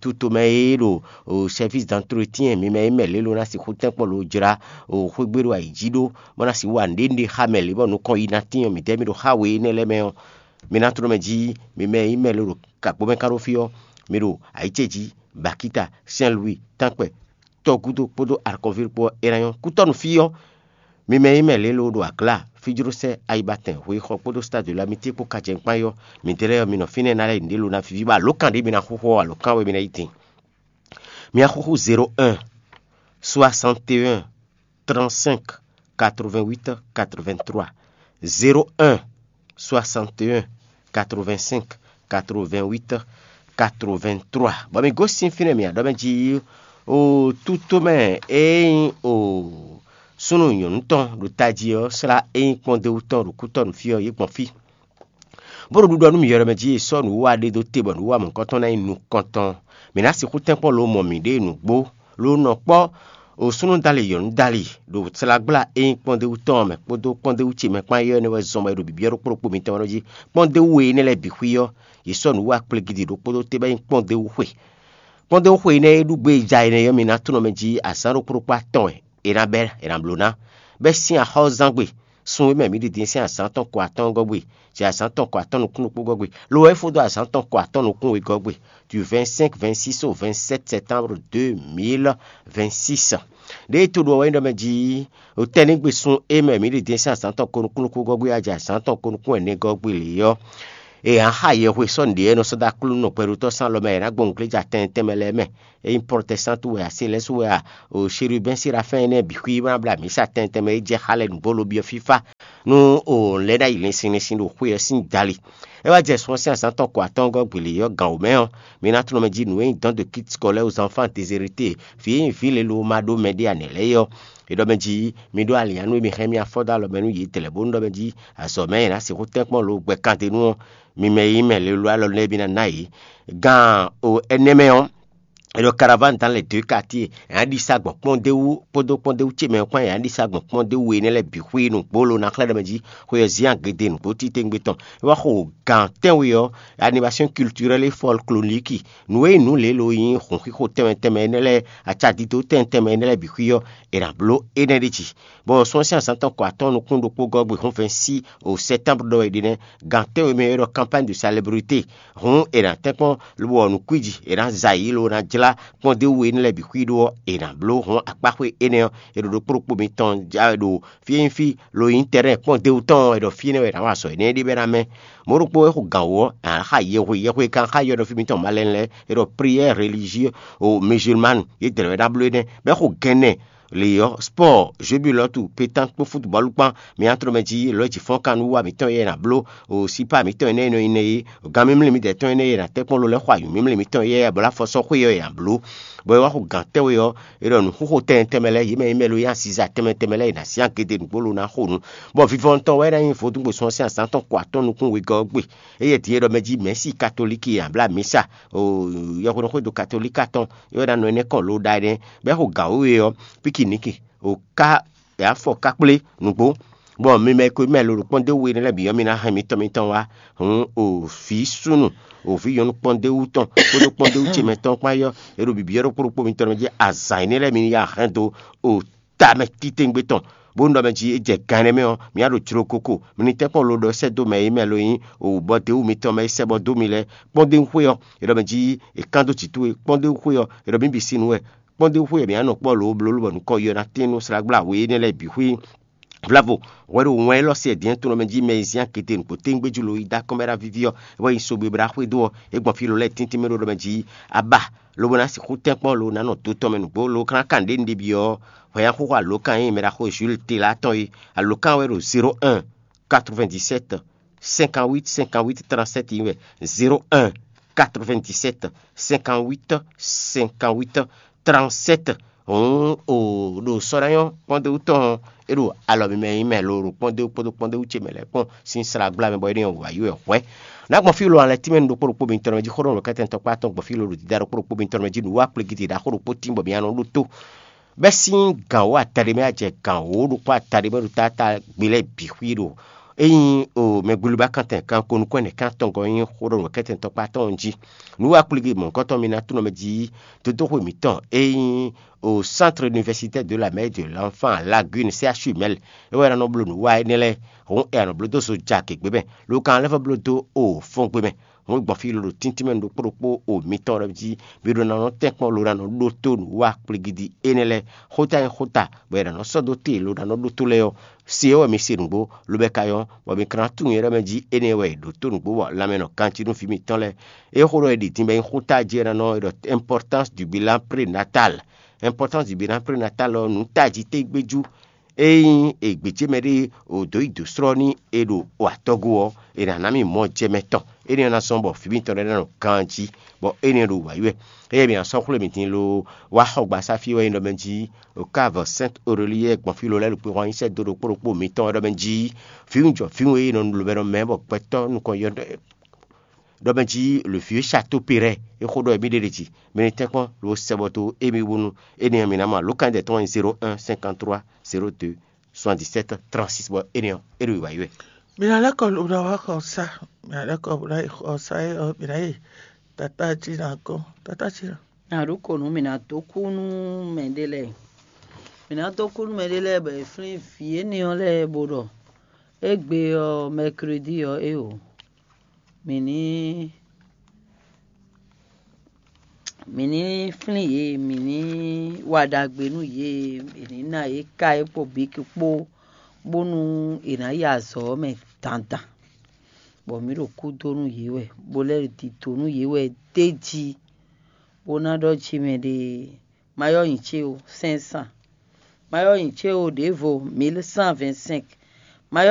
Tutomɛ e ɖo o service d'entretien mi mɛ e mɛ lě lo ná sixú tɛ́nkpɔ́n lo jlá o xwé gbe ɖo ayǐ jí ɖó, bó ná sixú wa nǔɖé nǔɖé xá mɛ lě bɔ nukɔn yi ná tín ɔ́, midɛɛ mi ɖo xá we énɛ́ lɛ́ɛ mɛ ɔ́, mi ná tló mɛ jí. Mi mɛ e mɛ lo ɖo gǎgbó mɛ ká ɖó fí ɔ́, mi ɖo ayǐ ce jí, Bakíta, Sɛ́n Luwi, tánkpɛ, tɔgúdo kpódó alukɔ́ví kpó ɔ́, é ná nyɔ́. Kútɔ́nu fí ɔ́, mi mɛ e mɛ lě lo ɖo aglá, fíjlósɛ́, ayibatɛn, hweyixɔ kpódó Stade de l'Amitié kpó kajɛnkpán ɔ́, midɛɛ lɛ́ɛ ɔ́, mi nɔ fínɛ́ ná lɛ́ nǔɖé lo ná víví, bɔ alǒkan ɖě mi ná xúxú ɔ́, alǒkan wɛ mi ná yi din. Mi ná xúxú zéro un soixante et un trente-cinq quatre-vingt-huit quatre-vingt-trois, zéro un soixante et un quatre-vingt-cinq quatre-vingt-huit quatre-vingt-trois. Bɔ mi gosín fínɛ́ mi aɖɔ́ mɛ jí o tútú mɛ e nyí o súnnu nyɔ̌nu tɔn ɖo tají ɔ́ slá e nyí kpɔ́ndéwú tɔn ɖo kútɔ́ nǔ fí ɔ́, yě gbɔn fí. Bó ɖo ɖuɖɔ nú mì yɔɖɔ mɛ jí è sɔ́ nǔwiwa ɖé dó te bɔ nǔwiwa mɔ̌hunkɔtɔn ná nyí nukɔntɔn. Mǐ ná sixú tɛ́nkpɔ́n lo mɔ mǐɖée nǔgbó, lo nɔ kpɔ́ o súnnu dali yɔ̌nu dali ɖo slagbla e nyí kpɔ́ndéwú tɔn ɔ́ mɛ kpódó kpɔ́ndéwú ce mɛ kpán é ɔ́ nɛ́ wɛ zɔn bɔ è ɖo bǐbyɔ́ ɖokpó ɖokpó mitɔn ɔ́ jí. Kpɔ́ndéwú e énɛ́ lɛ́ɛ bǐ xwí ɔ́, yě sɔ́ nǔwiwa kplégídi ɖokpó dó te bɔ é nyí kpɔ́ndéwú xwe. Kpɔ́ndéwúxwe énɛ́ e ɖu gbé e ja énɛ́ ɔ́, mi ná tunɔ mɛ jí azǎn ɖokpó ɖokpó atɔn wɛ è nǎ bɛ́ è nǎ bló ná, bɛ́ sín axɔ́zán gbe. Sun e mɛ mǐ ɖi din sín azǎn tɔn ko atɔ́ɔ́ngɔ́ gbe, jɛ azǎn tɔn ko atɔ́ɔ́n nukún ɖokpó gɔ́ gbe, lo wɛ é fó dó azǎn tɔn ko atɔ́ɔ́n nukún wegɔ́ gbe, du vingt-cinq, vingt-six au vingt-sept septembre deux mille vingt-six. Ɖěe to ɖu ɔ́ wɛ nyí ɖɔ mɛ jí, o tɛ́nnígbe sun e mɛ mǐ ɖi din sín azǎn tɔn ko nukún ɖokpó gɔ́ gbe, a jɛ azǎn tɔn ko nukún ɛnɛ gɔ́ gbe lě ɔ́, e ǎ xa yɛhwe sɔ́ nǔɖé e nɔ sɔ́ dó aklúnɔ gbɛɖótɔ́ sín alɔ mɛ e ná gbɔn nǔgléja tɛnmɛ tɛnmɛ lɛ́ɛ mɛ. Ényí protɛstantu wɛ a, se lɛ́ɛ su wɛ a, o Sherubɛ́n Serafɛ́n énɛ́ bǐ xwí bó ná bló amǐsa tɛnmɛ tɛnmɛ e jɛ xá lɛ́ɛ nǔgbó lobyɔ́ fífá nú o lɛ́ ná yi lɛnsin lɛnsin ɖo xwé ɔ́ sín dali. É wá jɛ sun ɔ́ sín azǎn tɔn ko atɔ́ɔ́ngɔ́ gbělé ɔ́ gǎn wǒ mɛ ɔ́, mi ná tunɔ mɛ jí nǔ e nyí dɔn de kit scolaire aux enfants déshérités, vǐ e nyí vǐ lě lo ma ɖó mɛɖé ǎ nɛ̌ lɛ́ɛ é ɔ́, è ɖɔ mɛ jí mi ɖó alǐnnyánú e mi hɛn mì afɔ dó alɔ mɛ nú yědɛɛ lɛ́ɛ bónú ɖɔ mɛ jí azɔ̌ mɛ è nǎ sixú tɛ́nkpɔ́n lo gbɛ kan ɖé nu ɔ́, mi mɛ e nyí mɛ lě lo alɔ lɛ́ɛ mi ná ná yě. Gan o ɛnɛ́ mɛ ɔ́, è ɖɔ caravane dans les deux quartiers, è nǎ ɖi sa gbɔn kpɔ́ndéwú kpódó kpɔ́ndéwú ce mɛ kpán, è nǎ ɖi sa gbɔn kpɔ́ndéwú we énɛ́ lɛ́ɛ bǐ xwé nǔgbó lo ná xlɛ́ ɖɔ mɛ jí xwe ɔ́ zín agěde nǔgbó titewungbe tɔn. É wá xo gǎn tɛ́nwe ɔ́, animation culturelle et folklorique, nǔ e nyí nǔ lě lo nyí hǔnxixo tɛnmɛ tɛnmɛ énɛ́ lɛ́ɛ, acadídó tɛnmɛ tɛnmɛ énɛ́ lɛ́ɛ bǐ xwí ɔ́, è nǎ bló énɛ́ ɖ'é jí. Bɔ sun ɔ́ sín azǎn tɔn kɔ atɔ́ɔ́n nukún ɖokpó gɔ́ gbe hɔ́nvɛ́nsí o sɛ́tánblu ɖɔ wɛ è ɖe nɛ́, gan tɛ́nwe mɛ e ɖɔ campagne de célébrité. Hǔn è nǎ tɛ́nkpɔ́n lobɔ nǔkwíji è nǎ za yě lo ná jlá kpɔ́ndéwú e énɛ́ lɛ́ɛ bǐ xwí ɖó ɔ́, è nǎ bló hɔn akpáxwé énɛ́ ɔ́, è ɖo ɖokpó ɖokpó mitɔn ja wɛ ɖo fí e nyí fí lo nyí tɛ́rɛ́n kpɔ́ndéwú tɔn ɔ́, è ɖɔ fí énɛ́ wɛ è nǎ wa azɔ̌ énɛ́ ɖé bɛ́ ná mɛ. Mɔ̌ ɖokpó é xo gǎn wú ɔ́, è nǎ xa yɛhwe yɛhwe kan xá yɔ́ɖɔfí mitɔn malɛnu lɛ́ɛ, è ɖɔ prière religieux o musulmane, yědɛɛ wɛ ná bló énɛ́, bɔ é xo gɛnɛ lě ɔ́, spɔ́ɔ, jwebulɔ́tu, pétánk kpó futubɔ́lu kpán, mi ná tló mɛ jí lɔ̌ jǐ fɔ́n kan nú wa mǐtɔn e è nǎ bló, o sípá mǐtɔn énɛ́ e nɔ nyi nɛ́ é, gan mímlí mǐdɛɛ tɔn énɛ́ e è nǎ tɛ́nkpɔ́n lo lɛ́ɛ xo ayǔ mímlí mǐtɔn éyɛ́ bɔ lá fɔ sɔ́ xwé ɔ́ è nǎ bló. Bɔ é wá xo gǎn tɛ́nwe ɔ́, è ɖɔ nǔxóxó tɛnmɛ tɛnmɛ lɛ́ɛ, yě mɛ e nyí mɛ lo nyí aziza tɛnmɛ tɛnmɛ lɛ́ɛ è nǎ syán gěde nǔgbó lo ná xo nǔ. Bɔ vivɔnu tɔn wɛ é ná nyí vodúngbosún ɔ́ sín azǎn tɔn kɔ atɔ́ɔ́n nukún wegɔ́ ɔ́ gbe. Éyɛ́ din é ɖɔ mɛ jí mɛ̌si katolíki e ǎ blá mǐsa, o yɔhweɖɔxwédo katolíki atɔn, é wɛ ná nɔ énɛ́ kɔn lo ɖa énɛ́, bɔ é xo gǎn wěwe ɔ́, píkiniki, o ká, è wǎ fɔ ká kplé nǔgbó. Bɔ mi mɛ e ko mɛ lo ɖo kpɔ́ndéwú we énɛ́ lɛ́ɛ bǐ ɔ́, mi ná hɛn mitɔn mitɔn wá. Hǔn o vǐ súnnu, o vǐ nyɔ̌nu kpɔ́ndéwú tɔn kpódó kpɔ́ndéwú ce mɛ tɔn kpán yɔ́, è ɖo bǐbí ɔ́ ɖokpó ɖokpó mitɔn mɛ jí azǎn énɛ́ lɛ́ɛ mi ní ya hɛn dó o tamɛ titewungbe tɔn, bónú ɖɔ mɛ jí é jɛ gan énɛ́ mɛ ɔ́, mǐ wá ɖo jló koko. Mi ní tɛ́nkpɔ́n lo ɖɔ sɛ́ dó mɛ e mɛ lo nyí o bɔ dě wú mitɔn mɛ e sɛ́ bɔ dó mi lɛ́ɛ. Kpɔ́ndéwúxwé ɔ́, è ɖɔ mɛ jí è kán dó jǐ towe. Kpɔ́ndéwúxwé ɔ́, è ɖɔ mǐ bǐ sin nú wɛ. Kpɔ́ndéwúxwé ɔ́, mǐ wá nɔ kpɔ́ lǒ bló bɔ nǔkɔ yɔ ná tɛ́n nú slǎgbla we énɛ́ lɛ́ɛ bǐ xwí. Vlavo, hwɛ ɖo wɛn élɔ́ se din tɔn mɛ jí mɛ e zín akete nǔgbó tɛ́ngbéjú lo yi dó akɔ́nmɛ ɖo avíví ɔ́, é wɛ nyi sogbe bó ɖo axwé dó ɔ́, é gbɔn fí lɔ lɛ́ɛ tíntín mɛ ɖo ɖɔ mɛ jí abá, lobo ná sixú tɛ́nkpɔ́n lo ná nɔ do tɔn mɛ nǔgbó lo ká ná kan nǔɖé nǔɖé byɔ́ hwɛ̌nyáxóxó alǒkan e nyí mɛɖaxó Jules Tela tɔn é. Alǒkan wɛ ɖo zéro un, quatre-vingt-dix-sept, cinquante-huit, cinquante-huit, trente-sept nyí wɛ. Zéro un, quatre-vingt-dix-sept, cinquante-huit, cinquante-huit, trente-sept. Hǔn o ɖo sɔ́ ná nyɔ́ kpɔ́ndéwú tɔn ɔ́, é ɖo alɔ mimɛ nyí mɛ lo ɖo kpɔ́ndéwú kpódó kpɔ́ndéwú ce mɛ lɛ́ɛ kpɔ́n sín slá gbla mɛ bɔ é ɖo wǎ yi wɛ hwɛ̌. Nǎ gbɔn fí lo alɛ tínmɛ ɖokpó ɖokpó mitɔn mɛ jí xó ɖɔ nǔkɛtɛn tɔkpá tɔn gbɔn fí lo ɖo dídá ɖokpó ɖokpó mitɔn mɛ jí nǔ wá kplégídí ɖaxó ɖokpó tín bɔ mi ná nɔ ɖótó. Bɛ́ sín gǎn wǒ ataɖé mɛ wá jɛ gǎn wǒ ɖokpó ataɖé mɛ ɖo táta gbe lɛ́ɛ bǐ xwí ɖo. Ényí o mɛgbluba kantɛn kan ko nukɔn ɛnɛ kan tɔn gɔ́ nyí xó ɖɔ nǔkɛtɛn tɔkpá tɔn jí. Nǔ wá kplégídí mɔ̌hunkɔtɔn mi ná tunɔ mɛ jí dodóxwe mǐtɔn ényí au Centre Universitaire de la Mère et de l'Enfant à Lagune, C H U Mɛl, é wɛ ná nɔ bló nǔ wa énɛ́ lɛ́ɛ, hǔn è nɔ bló dó zo ja gěgbe mɛ, lo ka lɛ́ vɔ bló dó o fɔ́n gbe mɛ. Hǔn gbɔn fí lolo tíntín mɛ ɖokpó ɖokpó o mitɔn lɛ́ɛ jí, mi ɖó ná nɔ tɛ́nkpɔ́n lo ná nɔ ɖótó nǔ wa kplígídí énɛ́ lɛ́ɛ. Xóta e xóta bɔ è nǎ nɔ sɔ́ dó te lo ná nɔ ɖótó lɛ́ɛ ɔ́, se ɔ́ wɛ mi se nǔgbó, lo bɛ ka nyɔ́, bɔ mi ka ná tunwun yɛ ɖɔ mɛ jí énɛ́ wɛ è ɖǒ tó nǔgbó bɔ lanmɛ nɔ ganjí nú vǐ mitɔn lɛ́ɛ. É xó ɖɔ è ɖi din bɔ é nyí xóta jí é ná nɔ é ɖɔ importance du bilan prénatal. Importance du bilan prénatal ɔ́, nǔ tají tégbéjú ényí è gbějé mɛɖée o dǒ yi dǒ slɔ́ n'i è ɖo o atɔ́gó ɔ́, è nǎ ná mì mɔ jɛ mɛ tɔn. Énɛ́ ɔ́ ná zɔ́n bɔ vǐ mitɔn lɛ́ɛ ná nɔ ganjí, bɔ énɛ́ ɔ́ ɖo wǎyi wɛ. Eye mi asɔ́ xwlé mi din lo wá xɔgbasá fí wɛ nyí ɖɔ mɛ jí, o ká vɔ Sainte Aurélie gbɔn fí lo lɛ́ɛ ɖo kpexɔn nyi sɛ́ dó ɖokpó ɖokpó mitɔn wɛ ɖɔ mɛ jí, vǐwunjɔ vǐwun e nɔ lobɛ́nɔ mɛ bɔ gbɛtɔ́ nukɔn yɔ ɖɔ mɛ jí le vieux château Perret é xó ɖɔ mì ɖe ɖe jí, mi ní tɛ́nkpɔ́n lo sɛ bɔ dó émi wú nú énɛ́ ɔ́ mi ná mɔ alǒkan dɛ tɔn zéro un cinquante trois zéro deux soixante-dix-sept trente-six bɔ énɛ́ ɔ́ é ɖo wǐwá yi wɛ. Mi ná lɛ́ kɔ lo ná wá xɔ sá, mi ná lɛ́ kɔ lo ná yi xɔ sá é ɔ́, mi ná yi tata jí ná gɔ́n, tata jí ná. Aɖuko nú mǐ ná dó kú nú mɛɖé lɛ́ɛ. Mǐ ná dó kú nú mɛɖé lɛ́ɛ bɔ è flín vǐ énɛ́ ɔ́ lɛ́ɛ bó ɖɔ égbé ɔ́, mɛkredi ɔ́ é o, mǐ ní mǐ ní flín yě, mǐ ní wa ɖagbe nú yě, mǐ ní ná yě ka é kpó bǐki kpó, bónú è nǎ yi azɔ̌ ɔ́ mɛ dandan, bɔ mǐ ɖo kú dó nú yě wɛ, bó lɛ́ ɖo dǐdó nú yě wɛ d'é jí, bó ná ɖɔ jí mɛ ɖe, ma yɔ́ nyi ce o, cinq cents, ma yɔ́ nyi ce o, ɖěvo, mille cent vingt-cinq,